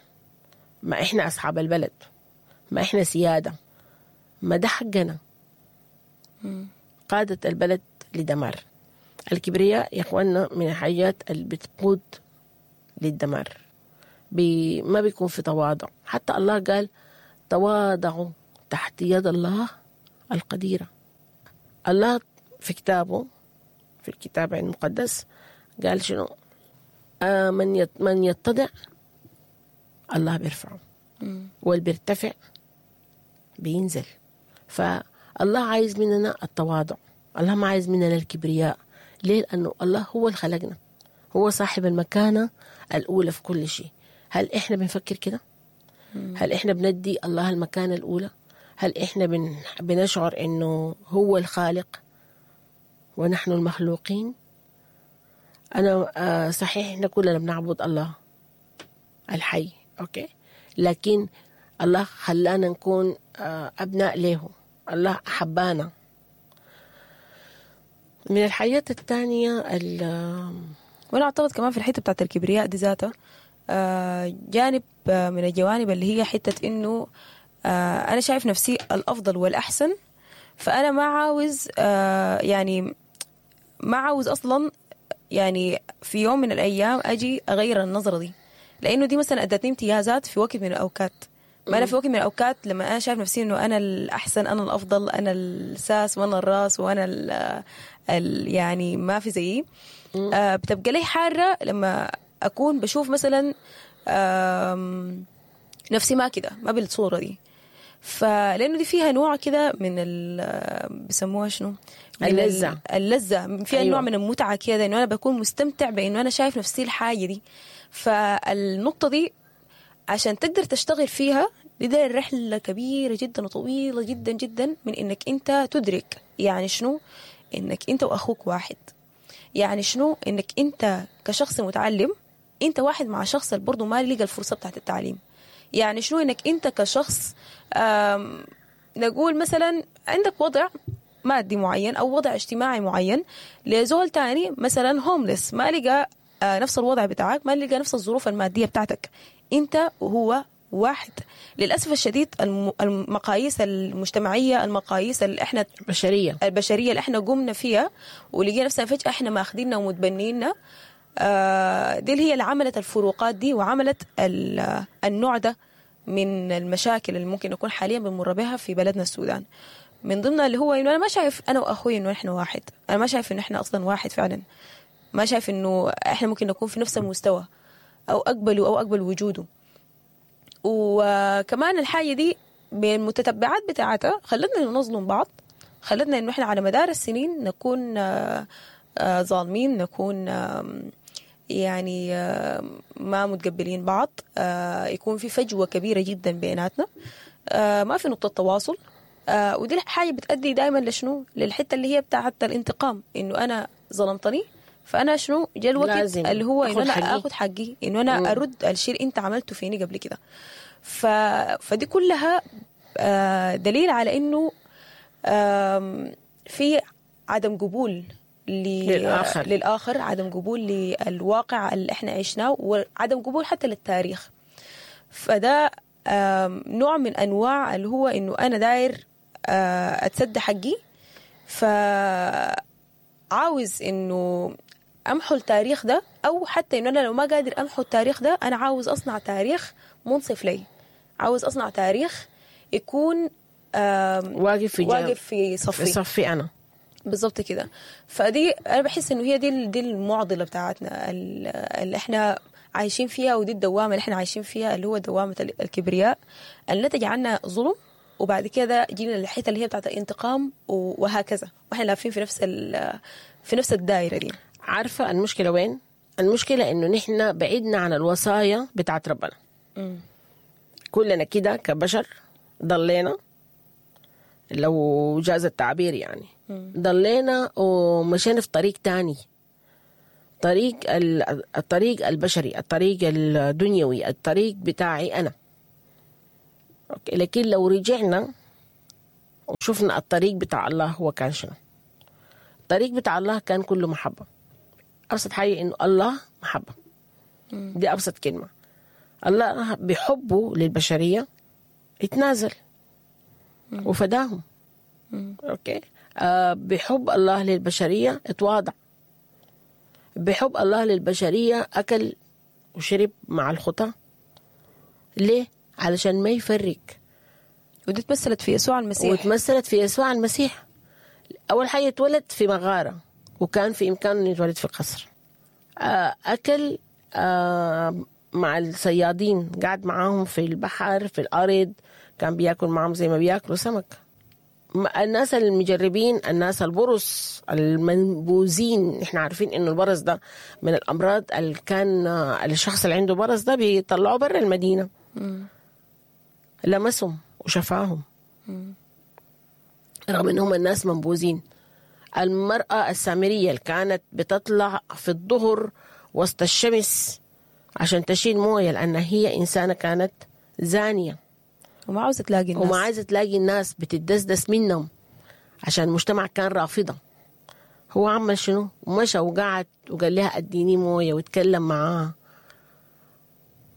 ما إحنا أصحاب البلد، ما إحنا سيادة، ما ده حقنا. قادت البلد لدمار. الكبرياء يا إخواننا من الحاجات اللي بتقود للدمار، بي ما بيكون في تواضع. حتى الله قال تواضعوا تحت يد الله القديرة. الله في كتابه، في الكتاب المقدس، قال شنو؟ آه من من يتضع الله بيرفعه، واللي بيرتفع بينزل. فالله عايز مننا التواضع، الله ما عايز مننا الكبرياء. ليه؟ لأنه الله هو اللي خلقنا، هو صاحب المكانة الأولى في كل شيء. هل إحنا بنفكر كده؟ هل إحنا بندي الله المكانة الأولى؟ هل إحنا بن... بنشعر إنه هو الخالق ونحن المخلوقين؟ أنا آه صحيح إحنا كلنا بنعبد الله الحي، أوكي، لكن الله خلانا نكون آه أبناء له، الله أحبانا. من الحاجات الثانية ال... وأنا أعتقد كمان في الحتة بتاعت الكبرياء دي ذاتها آه جانب آه من الجوانب اللي هي حتة إنه آه أنا شايف نفسي الأفضل والأحسن، فأنا ما عاوز آه يعني ما عاوز أصلا يعني في يوم من الأيام أجي أغير النظرة دي، لأنه دي مثلا أدتني امتيازات في وقت من الأوقات. ما أنا في وقت من الأوقات لما أنا شايف نفسي إنه أنا الأحسن، أنا الأفضل، أنا الساس وأنا الراس وأنا ال ال يعني ما في زيي، آه بتبقى لي حارة لما أكون بشوف مثلا نفسي ما كده، ما بالصورة دي. فلأنه دي فيها نوع كده من ال بيسموها شنو؟ اللذة. اللذة فيها. أيوة. نوع من المتعة كده، إنه أنا بكون مستمتع بإنه أنا شايف نفسي الحاجة دي. فالنقطة دي عشان تقدر تشتغل فيها دي ده رحلة كبيرة جدا وطويلة جدا جدا، من إنك أنت تدرك يعني شنو إنك أنت وأخوك واحد، يعني شنو إنك أنت كشخص متعلم أنت واحد مع شخص برضو ما لقى الفرصة بتاعت التعليم، يعني شنو إنك أنت كشخص نقول مثلا عندك وضع مادي معين أو وضع اجتماعي معين لزول تاني مثلا هوملس ما لقى نفس الوضع بتاعك، ما لقى نفس الظروف المادية بتاعتك، أنت وهو واحد. للأسف الشديد المقاييس المجتمعية، المقاييس اللي احنا البشرية البشرية اللي احنا قمنا فيها ولقينا نفسنا فجأة احنا ماخديننا ومتبنينا، آه دي اللي هي اللي عملت الفروقات دي وعملت النوع ده من المشاكل اللي ممكن نكون حاليا بنمر بها في بلدنا السودان. من ضمنها اللي هو انه انا ما شايف انا واخوي انه احنا واحد، انا ما شايف انه احنا اصلا واحد فعلا، ما شايف انه احنا ممكن نكون في نفس المستوى او اقبله او اقبل وجوده. وكمان الحاجة دي بالمتتبعات بتاعتها خلتنا نظلم بعض، خلتنا انه احنا على مدار السنين نكون ظالمين، نكون يعني ما متقبلين بعض، يكون في فجوة كبيرة جدا بيناتنا، ما في نقطة تواصل. ودي الحاجة بتأدي دائما لشنو؟ للحتة اللي هي بتاعت الانتقام، انه انا ظلمتني فانا شنو جا الوقت اللي هو انه انا اخذ حقي، انه انا ارد الشيء اللي انت عملته فيني قبل كده. ف... فدي كلها دليل على انه في عدم قبول ل... للآخر. للآخر، عدم قبول للواقع اللي احنا عشناه، وعدم قبول حتى للتاريخ. فده نوع من انواع اللي هو انه انا داير اتسد حقي، فعاوز انه امحو التاريخ ده، او حتى انه انا لو ما قادر امحو التاريخ ده انا عاوز اصنع تاريخ منصف لي، عاوز اصنع تاريخ يكون واقف في واقف في صفي، في صفي انا بالضبط كده. فدي انا بحس انه هي دي دي المعضلة بتاعتنا اللي احنا عايشين فيها، ودي الدوامة اللي احنا عايشين فيها اللي هو دوامه الكبرياء اللي نتج عنها ظلم، وبعد كده جينا للحتة اللي هي بتاعت الانتقام وهكذا، واحنا لافين في نفس في نفس الدائرة دي. عارفه المشكلة وين؟ المشكلة انه نحن بعدنا عن الوصايا بتاعت ربنا. مم. كلنا كده كبشر ضلينا، لو جاز التعبير يعني، ضلينا ومشينا في طريق تاني، طريق ال- الطريق البشري، الطريق الدنيوي، الطريق بتاعي أنا. okay. لكن لو رجعنا وشفنا الطريق بتاع الله هو كان شنو، الطريق بتاع الله كان كله محبة. أبسط حاجة إنه الله محبة، دي أبسط كلمة. الله بحبه للبشرية اتنازل وفداهم. okay. آه بحب الله للبشرية اتواضع، بحب الله للبشرية أكل وشرب مع الخطاة. ليه؟ علشان ما يفرق. ودي تمثلت في يسوع المسيح. وتمثلت في يسوع المسيح. أول حاجة اتولد في مغارة، وكان في إمكانه إنه يتولد في قصر. آه، أكل آه، مع الصيادين، قعد معاهم في البحر في الأرض، كان بياكل معاهم زي ما بياكلوا سمك. م- الناس المجربين، الناس البرص المنبوذين، احنا عارفين انه البرص ده من الامراض اللي كان آه، الشخص اللي عنده برص ده بيطلعوه برا المدينة. لمسهم وشفاهم رغم انهم الناس منبوذين. المرأة السامرية اللي كانت بتطلع في الظهر وسط الشمس عشان تشيل موية لأن هي إنسانة كانت زانية وما عاوزة تلاقي الناس، وما عايزة تلاقي الناس، بتدسدس منهم عشان المجتمع كان رافضة. هو عمل شنو؟ مشى وقعد وقال لها اديني موية واتكلم معاها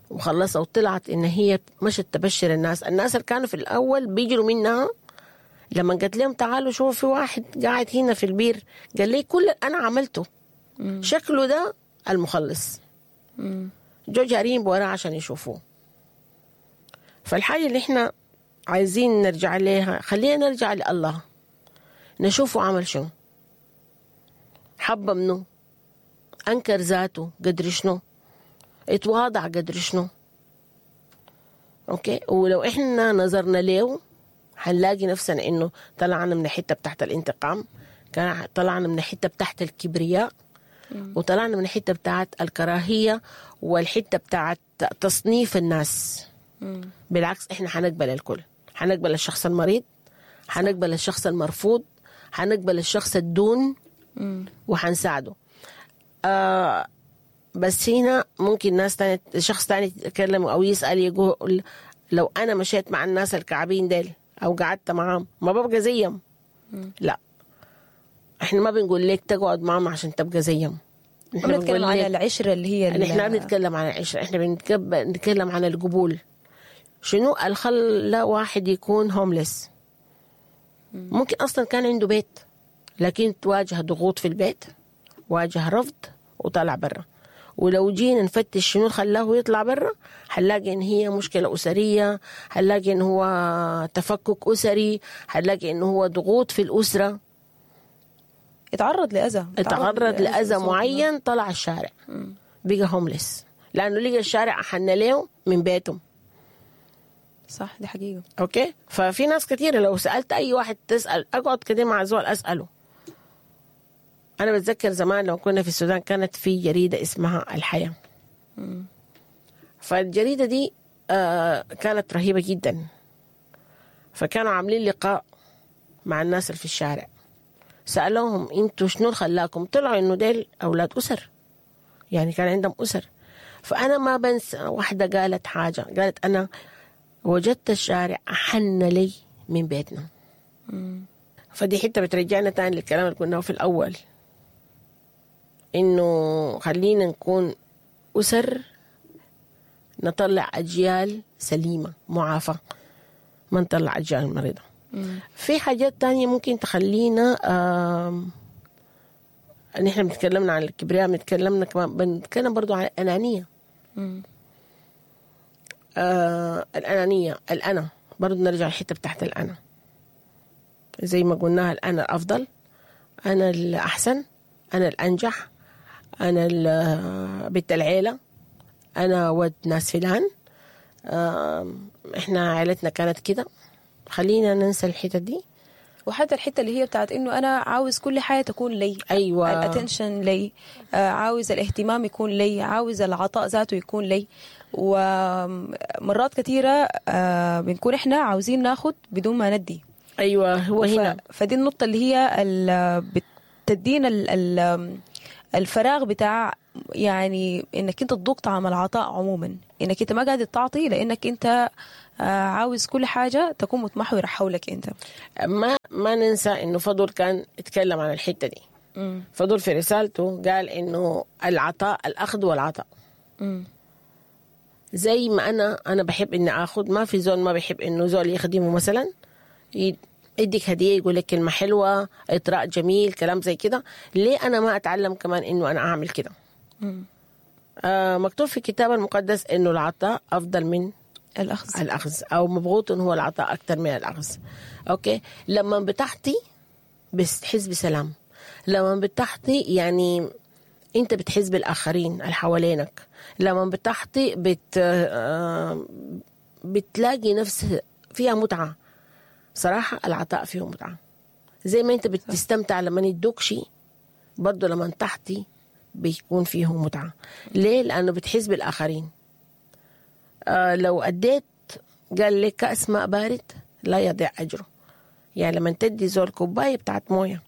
وخلصها، وطلعت ان هي مشت تبشر الناس. الناس اللي كانوا في الاول بيجروا منها، لما قالت لهم تعالوا شوفوا في واحد قاعد هنا في البير، قال لي كل اللي انا عملته شكله ده المخلص. جو جارين بوراه عشان يشوفوه. فالحاجة اللي احنا عايزين نرجع ليها، خلينا نرجع لله نشوفه عمل شنو، حب منه، أنكر ذاته قدر شنو، اتواضع قدر شنو. okay. ولو احنا نظرنا له حنلاقي نفسنا انه طلعنا من الحتة بتاعت الانتقام، كان طلعنا من الحتة بتاعت الكبرياء، وطلعنا من الحتة بتاعت الكراهية، والحتة بتاعت تصنيف الناس. بالعكس احنا حنقبل الكل، حنقبل الشخص المريض، حنقبل الشخص المرفوض، حنقبل الشخص الدون، وحنساعده. آه بس هنا ممكن ناس تانية، شخص تاني يتكلم او يسأل، يقول لو انا مشيت مع الناس الكعبين ديل او قعدت معاهم ما ببقى زيهم. لا، احنا ما بنقول لك تقعد معاهم عشان تبقى زيهم. ما بنتكلم عن العشرة اللي هي احنا ما بنتكلم عن العشرة، احنا بنتكلم عن القبول. شنو اللي خلى واحد يكون homeless؟ ممكن اصلا كان عنده بيت، لكن تواجه ضغوط في البيت، واجه رفض وطلع برا. ولو جينا نفتش شنو اللي خلاه يطلع برا، حنلاقي ان هي مشكلة اسرية، حنلاقي ان هو تفكك اسري، حنلاقي ان هو ضغوط في الاسرة، اتعرض لاذى، اتعرض لاذى معين، طلع الشارع بقى homeless لانه لقى الشارع احن له من بيتهم. صح، دي حقيقة. okay. ففي ناس كثيرة لو سالت اي واحد، تسال اقعد كده مع زول اساله. انا بتذكر زمان لو كنا في السودان كانت في جريدة اسمها الحياة. مم. فالجريده دي آه كانت رهيبة جدا. فكانوا عاملين لقاء مع الناس اللي في الشارع، سالوهم انتوا شنو اللي خلاكم؟ طلعوا انه ديل اولاد اسر، يعني كان عندهم اسر. فانا ما بنسى واحدة قالت حاجة، قالت انا وجدت الشارع احن لي من بيتنا. مم. فدي حتة بترجعنا تاني للكلام اللي قلناه في الاول، انه خلينا نكون اسر نطلع اجيال سليمة معافى، ما نطلع اجيال مريضه. مم. في حاجات تانية ممكن تخلينا آم، نحن بنتكلمنا عن الكبرياء، بنتكلمنا كمان بنتكلم برضو عن الأنانية. مم. آه الأنانية، الأنا، برضو نرجع الحتة بتاعت الأنا، زي ما قلناها الأنا الأفضل، أنا الأحسن، أنا الأنجح، أنا ال- بنت العيلة، أنا ود ناس فلان، آم، إحنا عائلتنا كانت كده. خلينا ننسى الحتة دي. وحتى الحتة اللي هي بتاعت انه انا عاوز كل حاجة تكون لي، ايوه ال attention لي، آه، عاوز الاهتمام يكون لي، عاوز العطاء ذاته يكون لي. ومرات كثيرة آه، بنكون احنا عاوزين ناخد بدون ما ندي. ايوه هو هنا ف... فدي النقطة اللي هي ال... بتدينا ال... ال... الفراغ بتاع يعني انك انت تذوق طعم العطاء عموما، انك انت ما قاعد تعطي لانك انت آه، عاوز كل حاجة تكون متمحوره حولك انت. ما ما ننسى انه فضل كان اتكلم عن الحتة دي. فضل في رسالته قال انه العطاء الاخذ والعطاء. مم. زي ما انا انا بحب اني اخذ، ما في زول ما بيحب انه زول يخدمه مثلا، ي- يديك هديه، يقول لك كلمة حلوة، اطراء جميل، كلام زي كده. ليه انا ما اتعلم كمان انه انا اعمل كده؟ آه مكتوب في الكتاب المقدس انه العطاء افضل من الاخذ. الاخذ، او مبغوط هو العطاء اكثر من الاخذ. okay، لما بتعطي بتحس بسلام، لما بتعطي يعني انت بتحس بالاخرين اللي حوالينك، لما بتعطي بت آه، بتلاقي نفس فيها متعه. صراحة العطاء فيه متعه، زي ما انت بتستمتع لما يدوك شيء، برضه لما تعطي بيكون فيه متعه. ليه؟ لانه بتحس بالاخرين. آه لو أديت، قال لك كأس ماء بارد لا يضيع أجره. يعني لما تدي زول كوباية بتاعت موية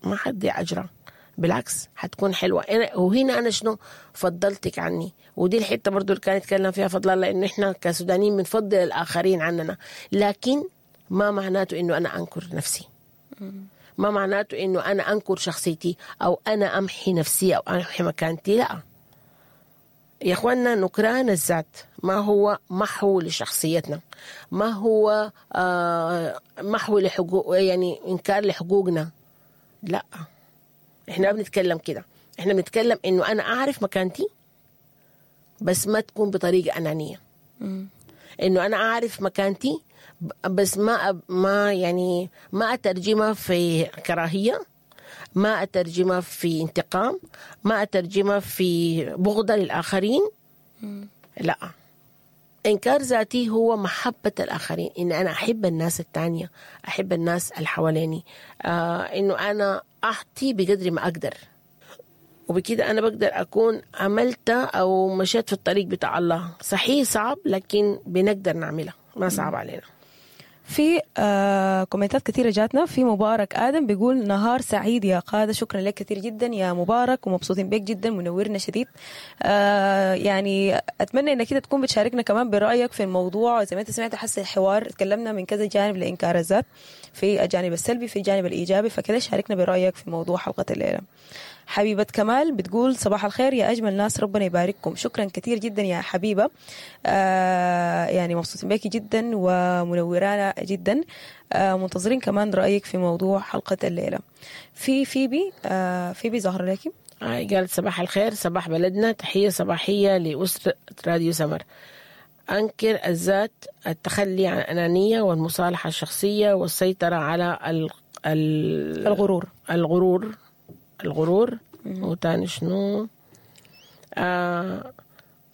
ما حتضيع أجرها، بالعكس حتكون حلوة. أنا وهنا أنا شنو فضلتك عني، ودي الحتة برضو اللي كان يتكلم فيها فضل الله، إنه إحنا كسودانيين بنفضل الآخرين عننا، لكن ما معناته إنه أنا أنكر نفسي، ما معناته إنه أنا أنكر شخصيتي أو أنا أمحي نفسي أو أمحي مكانتي. لا يا اخوانا، نكران الذات ما هو محو لشخصيتنا، ما هو آه محو لحقوق، يعني انكار لحقوقنا. لا، احنا ما بنتكلم كده، احنا بنتكلم انه انا اعرف مكانتي، بس ما تكون بطريقة انانية. انه انا اعرف مكانتي بس ما ما يعني ما اترجمها في كراهية، ما اترجمها في انتقام، ما اترجمها في بغضه للاخرين. لا، انكار ذاتي هو محبة الاخرين، ان انا احب الناس التانية، احب الناس اللي حواليني، آه انه انا اعطي بقدر ما اقدر، وبكده انا بقدر اكون عملت او مشيت في الطريق بتاع الله. صحيح صعب، لكن بنقدر نعملها، ما صعب علينا. في آه كومنتات كثيرة جاتنا. في مبارك آدم بيقول نهار سعيد يا قادة، شكرا لك كثير جدا يا مبارك، ومبسوطين بك جدا، منورنا شديد. آه يعني أتمنى إنك كده تكون بتشاركنا كمان برأيك في الموضوع. زي ما أنت سمعت حس الحوار تكلمنا من كذا جانب لإنكار الذات، في الجانب السلبي، في الجانب الإيجابي، فكده شاركنا برأيك في موضوع حلقة الليلة. حبيبة كمال بتقول صباح الخير يا أجمل ناس، ربنا يبارككم. شكرا كثير جدا يا حبيبة، آه يعني مبسوطين بيكي جدا ومنورانا جدا. آه منتظرين كمان رأيك في موضوع حلقة الليلة. في فيبي، آه فيبي ظهر لك. آه قالت صباح الخير، صباح بلدنا، تحية صباحية لأسرة راديو سمر. أنكر الذات التخلي عن الأنانية والمصالحة الشخصية والسيطرة على ال ال الغرور الغرور الغرور وتاني شنو؟ آه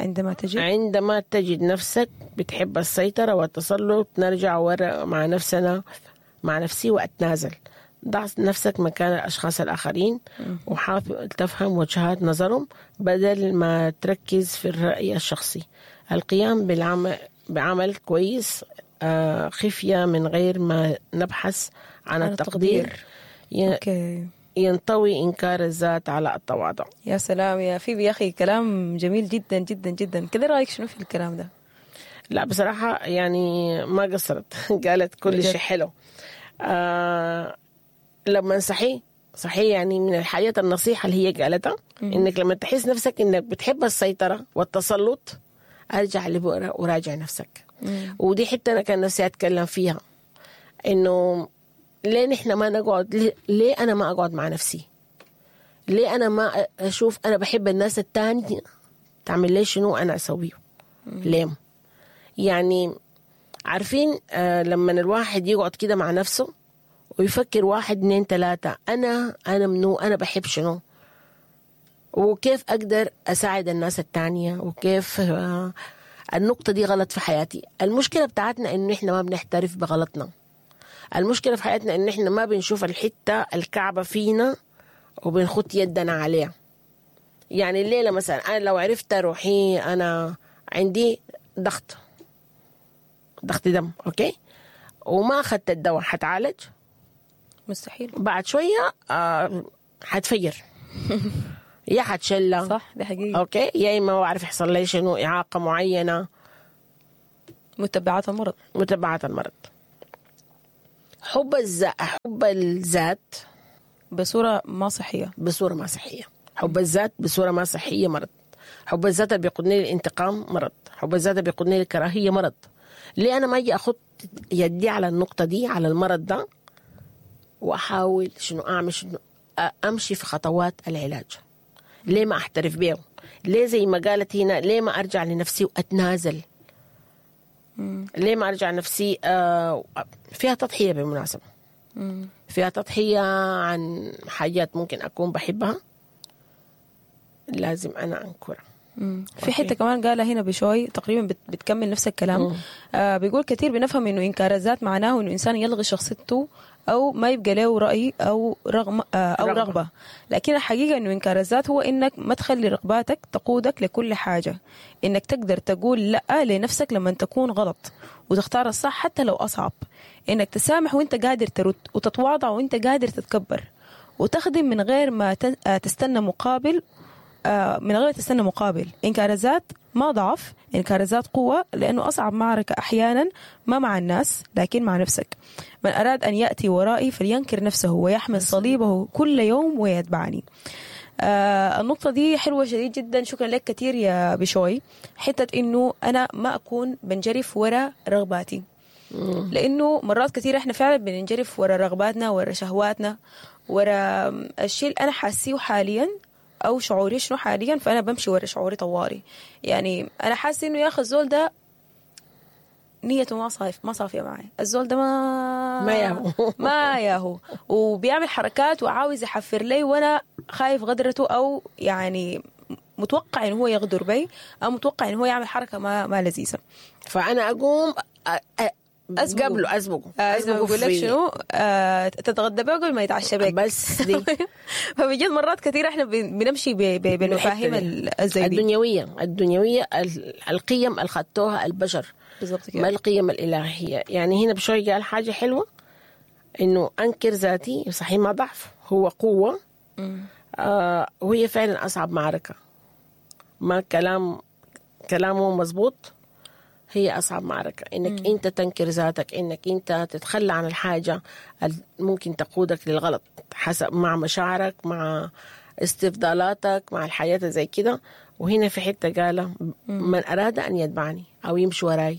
عندما تجد عندما تجد نفسك بتحب السيطرة والتسلط، نرجع ورا مع نفسنا، مع نفسي وأتنازل. ضع نفسك مكان الأشخاص الآخرين وحاول تفهم وجهات نظرهم بدل ما تركز في الرأي الشخصي. القيام بالعمل بعمل كويس آه خفية من غير ما نبحث عن عن التقدير, التقدير. ي- okay. ينطوي إنكار الذات على التواضع. يا سلام يا فيبي يا أخي، كلام جميل جدا جدا جدا. كده رأيك شنو في الكلام ده؟ لا بصراحة يعني ما قصرت، قالت كل بجد. شيء حلو. آه لما صحيح صحيح يعني من الحاجات النصيحة اللي هي قالتها إنك لما تحس نفسك إنك بتحب السيطرة والتسلط، أرجع لبؤرة وراجع نفسك. ودي حتة أنا كان نفسي أتكلم فيها، إنه ليه نحن ما نقعد، ليه, ليه أنا ما أقعد مع نفسي؟ ليه أنا ما أشوف أنا بحب الناس التانية تعمل لي شنو أنا أسويه؟ ليه؟ يعني عارفين آه لما الواحد يقعد كده مع نفسه ويفكر واحد اتنين تلاتة، أنا أنا منو، أنا بحب شنو، وكيف أقدر أساعد الناس التانية، وكيف آه النقطة دي غلط في حياتي. المشكلة بتاعتنا إنه إحنا ما بنحترف بغلطنا. المشكلة في حياتنا ان احنا ما بنشوف الحتة الكعبة فينا وبنخط يدنا عليها. يعني الليلة مثلا انا لو عرفت روحي انا عندي ضغط ضغط دم، okay، وما اخذت الدواء حتعالج؟ مستحيل. بعد شوية آه حتفجر يا حتشلى، صح، دي حقيقة. okay، يا اما ما بعرف يحصل لي شنو، اعاقه معينة، متبعات المرض. متبعات المرض. حب الذات، حب الذات بصورة ما صحية، بصورة ما صحية. حب الذات بصورة ما صحية مرض. حب الذات اللي بيقودني للانتقام مرض. حب الذات اللي بيقودني للكراهيه مرض. ليه انا ما اجي اخد يدي على النقطة دي، على المرض ده، واحاول شنو اعمل، شنو امشي في خطوات العلاج؟ ليه ما احترف بيه؟ ليه زي ما قالت هنا، ليه ما ارجع لنفسي واتنازل؟ مم. ليه ما ارجع نفسي؟ آه فيها تضحية بالمناسبة. مم. فيها تضحية عن حاجات ممكن اكون بحبها لازم انا انكرها. في حتة كمان قالها هنا بشوي تقريبا بتكمل نفس الكلام. آه بيقول كثير بنفهم انه انكار الذات معناه انه انسان يلغي شخصيته او ما يبقى له راي او رغم آه او رغبة. رغبة، لكن الحقيقة انه انكار الذات هو انك ما تخلي رغباتك تقودك لكل حاجة، انك تقدر تقول لا لنفسك لما تكون غلط وتختار الصح حتى لو اصعب، انك تسامح وانت قادر ترد، وتتواضع وانت قادر تتكبر، وتخدم من غير ما تستنى مقابل، من غير تستنى مقابل. إنكار الذات ما ضعف، إنكار الذات قوة، لأنه أصعب معركة أحيانا ما مع الناس لكن مع نفسك. من أراد أن يأتي ورائي فلينكر نفسه ويحمل صليبه كل يوم ويتبعني. آه النقطة دي حلوة شديد جدا، شكرا لك كثير يا بشوي. حتة إنه أنا ما أكون بنجرف وراء رغباتي، لأنه مرات كثير إحنا فعلا بننجرف وراء رغباتنا، وراء شهواتنا، وراء الشيء اللي أنا حاسيه حاليا او شعوري شنو حاليا، فانا بمشي ورا شعوري طواري. يعني انا حاسه انه يا اخي الزول ده نيته ما صاف ما صافية معي، الزول ده ما ما ياهو ما ياهو وبيعمل حركات وعاوز يحفر لي، وانا خايف غدرته، او يعني متوقع انه هو يغدر بي، او متوقع انه هو يعمل حركة ما ما لذيذة، فانا اقوم أ... أسبقه. قبله أسبقه أسبقه بقول لك شنو، آه، تتغدى بيه قبل ما يتعشى بك بس دي. فبجد مرات كثير احنا بنمشي بالمفاهيم الزي دي الدنيوية، الدنيوية القيم اللي خدتوها البشر بالضبط كده، ما القيم الإلهية. يعني هنا بشوي قال حاجة حلوة، إنه أنكر ذاتي صحيح ما ضعف، هو قوة. آه، وهي فعلا أصعب معركة، ما كلام كلامه مزبوط، هي أصعب معركة إنك مم. أنت تنكر ذاتك، إنك أنت تتخلى عن الحاجة ممكن تقودك للغلط حسب مع مشاعرك، مع استفضالاتك، مع الحياة زي كده. وهنا في حتة قال من أراد أن يتبعني أو يمشي وراي،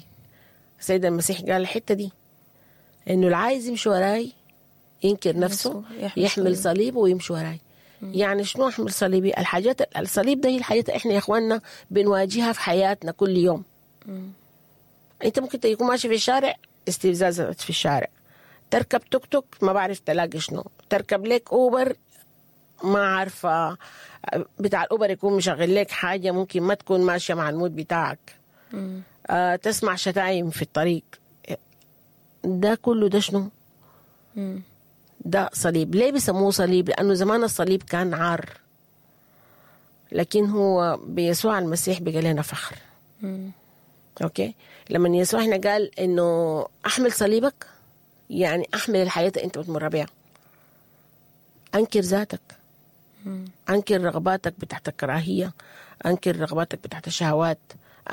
السيد المسيح قال الحتة دي، إنه العايز يمشي وراي ينكر نفسه، يحمل صليبه ويمشي وراي. يعني شنو أحمل صليبي؟ الحاجات الصليب ده هي الحاجات إحنا يا إخواننا بنواجهها في حياتنا كل يوم. مم. انت ممكن تكون ماشي في الشارع، استفزاز في الشارع، تركب توك توك ما بعرف تلاقي شنو، تركب لك اوبر ما عارفه بتاع الاوبر يكون مشغل لك حاجة ممكن ما تكون ماشية مع ال mood بتاعك. آه، تسمع شتايم في الطريق، ده كله ده شنو؟ مم. ده صليب. ليه بيسموه صليب؟ لانه زمان الصليب كان عار، لكن هو بيسوع المسيح بقى لنا فخر. مم. okay، لما يسوع هنا قال انه احمل صليبك، يعني احمل الحياة اللي انت بتمر بيها، انكر ذاتك، انكر رغباتك بتاعت الكراهية، انكر رغباتك بتاعت الشهوات،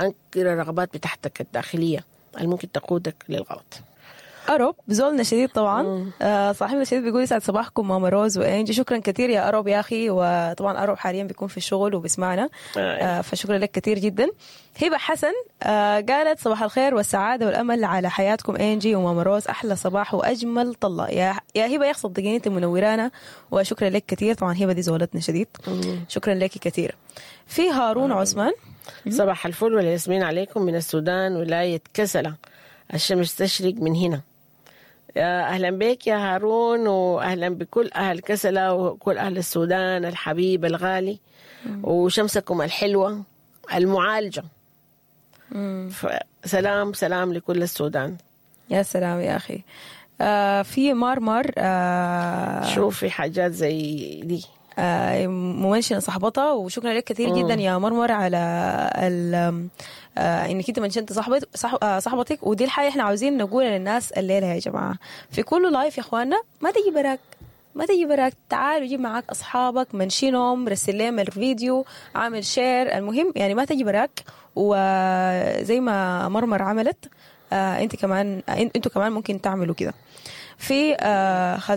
انكر الرغبات بتاعتك الداخلية اللي ممكن تقودك للغلط. أروب زولنا شديد طبعا، آه صاحبنا شديد بيقول يسعد صباحكم ماما روز وإنجي، شكرا كثير يا أروب يا أخي. وطبعا أروب حاليا بيكون في الشغل وبيسمعنا، آه فشكرا لك كثير جدا. هبة حسن آه قالت صباح الخير والسعادة والأمل على حياتكم إنجي وماما روز، أحلى صباح وأجمل طلة يا يا هبة يا صدقيني أنت منورانا، وشكرا لك كثير. طبعا هبة دي زولتنا شديد، شكرا لك كثير. في هارون عثمان، صباح الفل والياسمين عليكم من السودان ولاية كسلة، الشمس تشرق من هنا. أهلا بك يا هارون، وأهلا بكل أهل كسلة وكل أهل السودان الحبيب الغالي، وشمسكم الحلوة المعالجة. سلام سلام لكل السودان. يا سلام يا أخي. آه في مارمار آه شوفي حاجات زي دي. آه ممنشنة صاحبتها، وشكرا لك كثير جدا يا مرمر على ال آه انك انت منشنت صاحبت صاح آه صاحبتك. ودي الحاجة احنا عاوزين نقولها للناس الليلة يا جماعة، في كل live يا اخواننا ما تجي براك، ما تجي براك، تعال وجيب معاك اصحابك، منشنهم، رسل لهم الفيديو، عامل share، المهم يعني ما تجي براك. وزي ما مرمر عملت آه انت كمان، آه انتوا كمان ممكن تعملوا كده. في آه خالة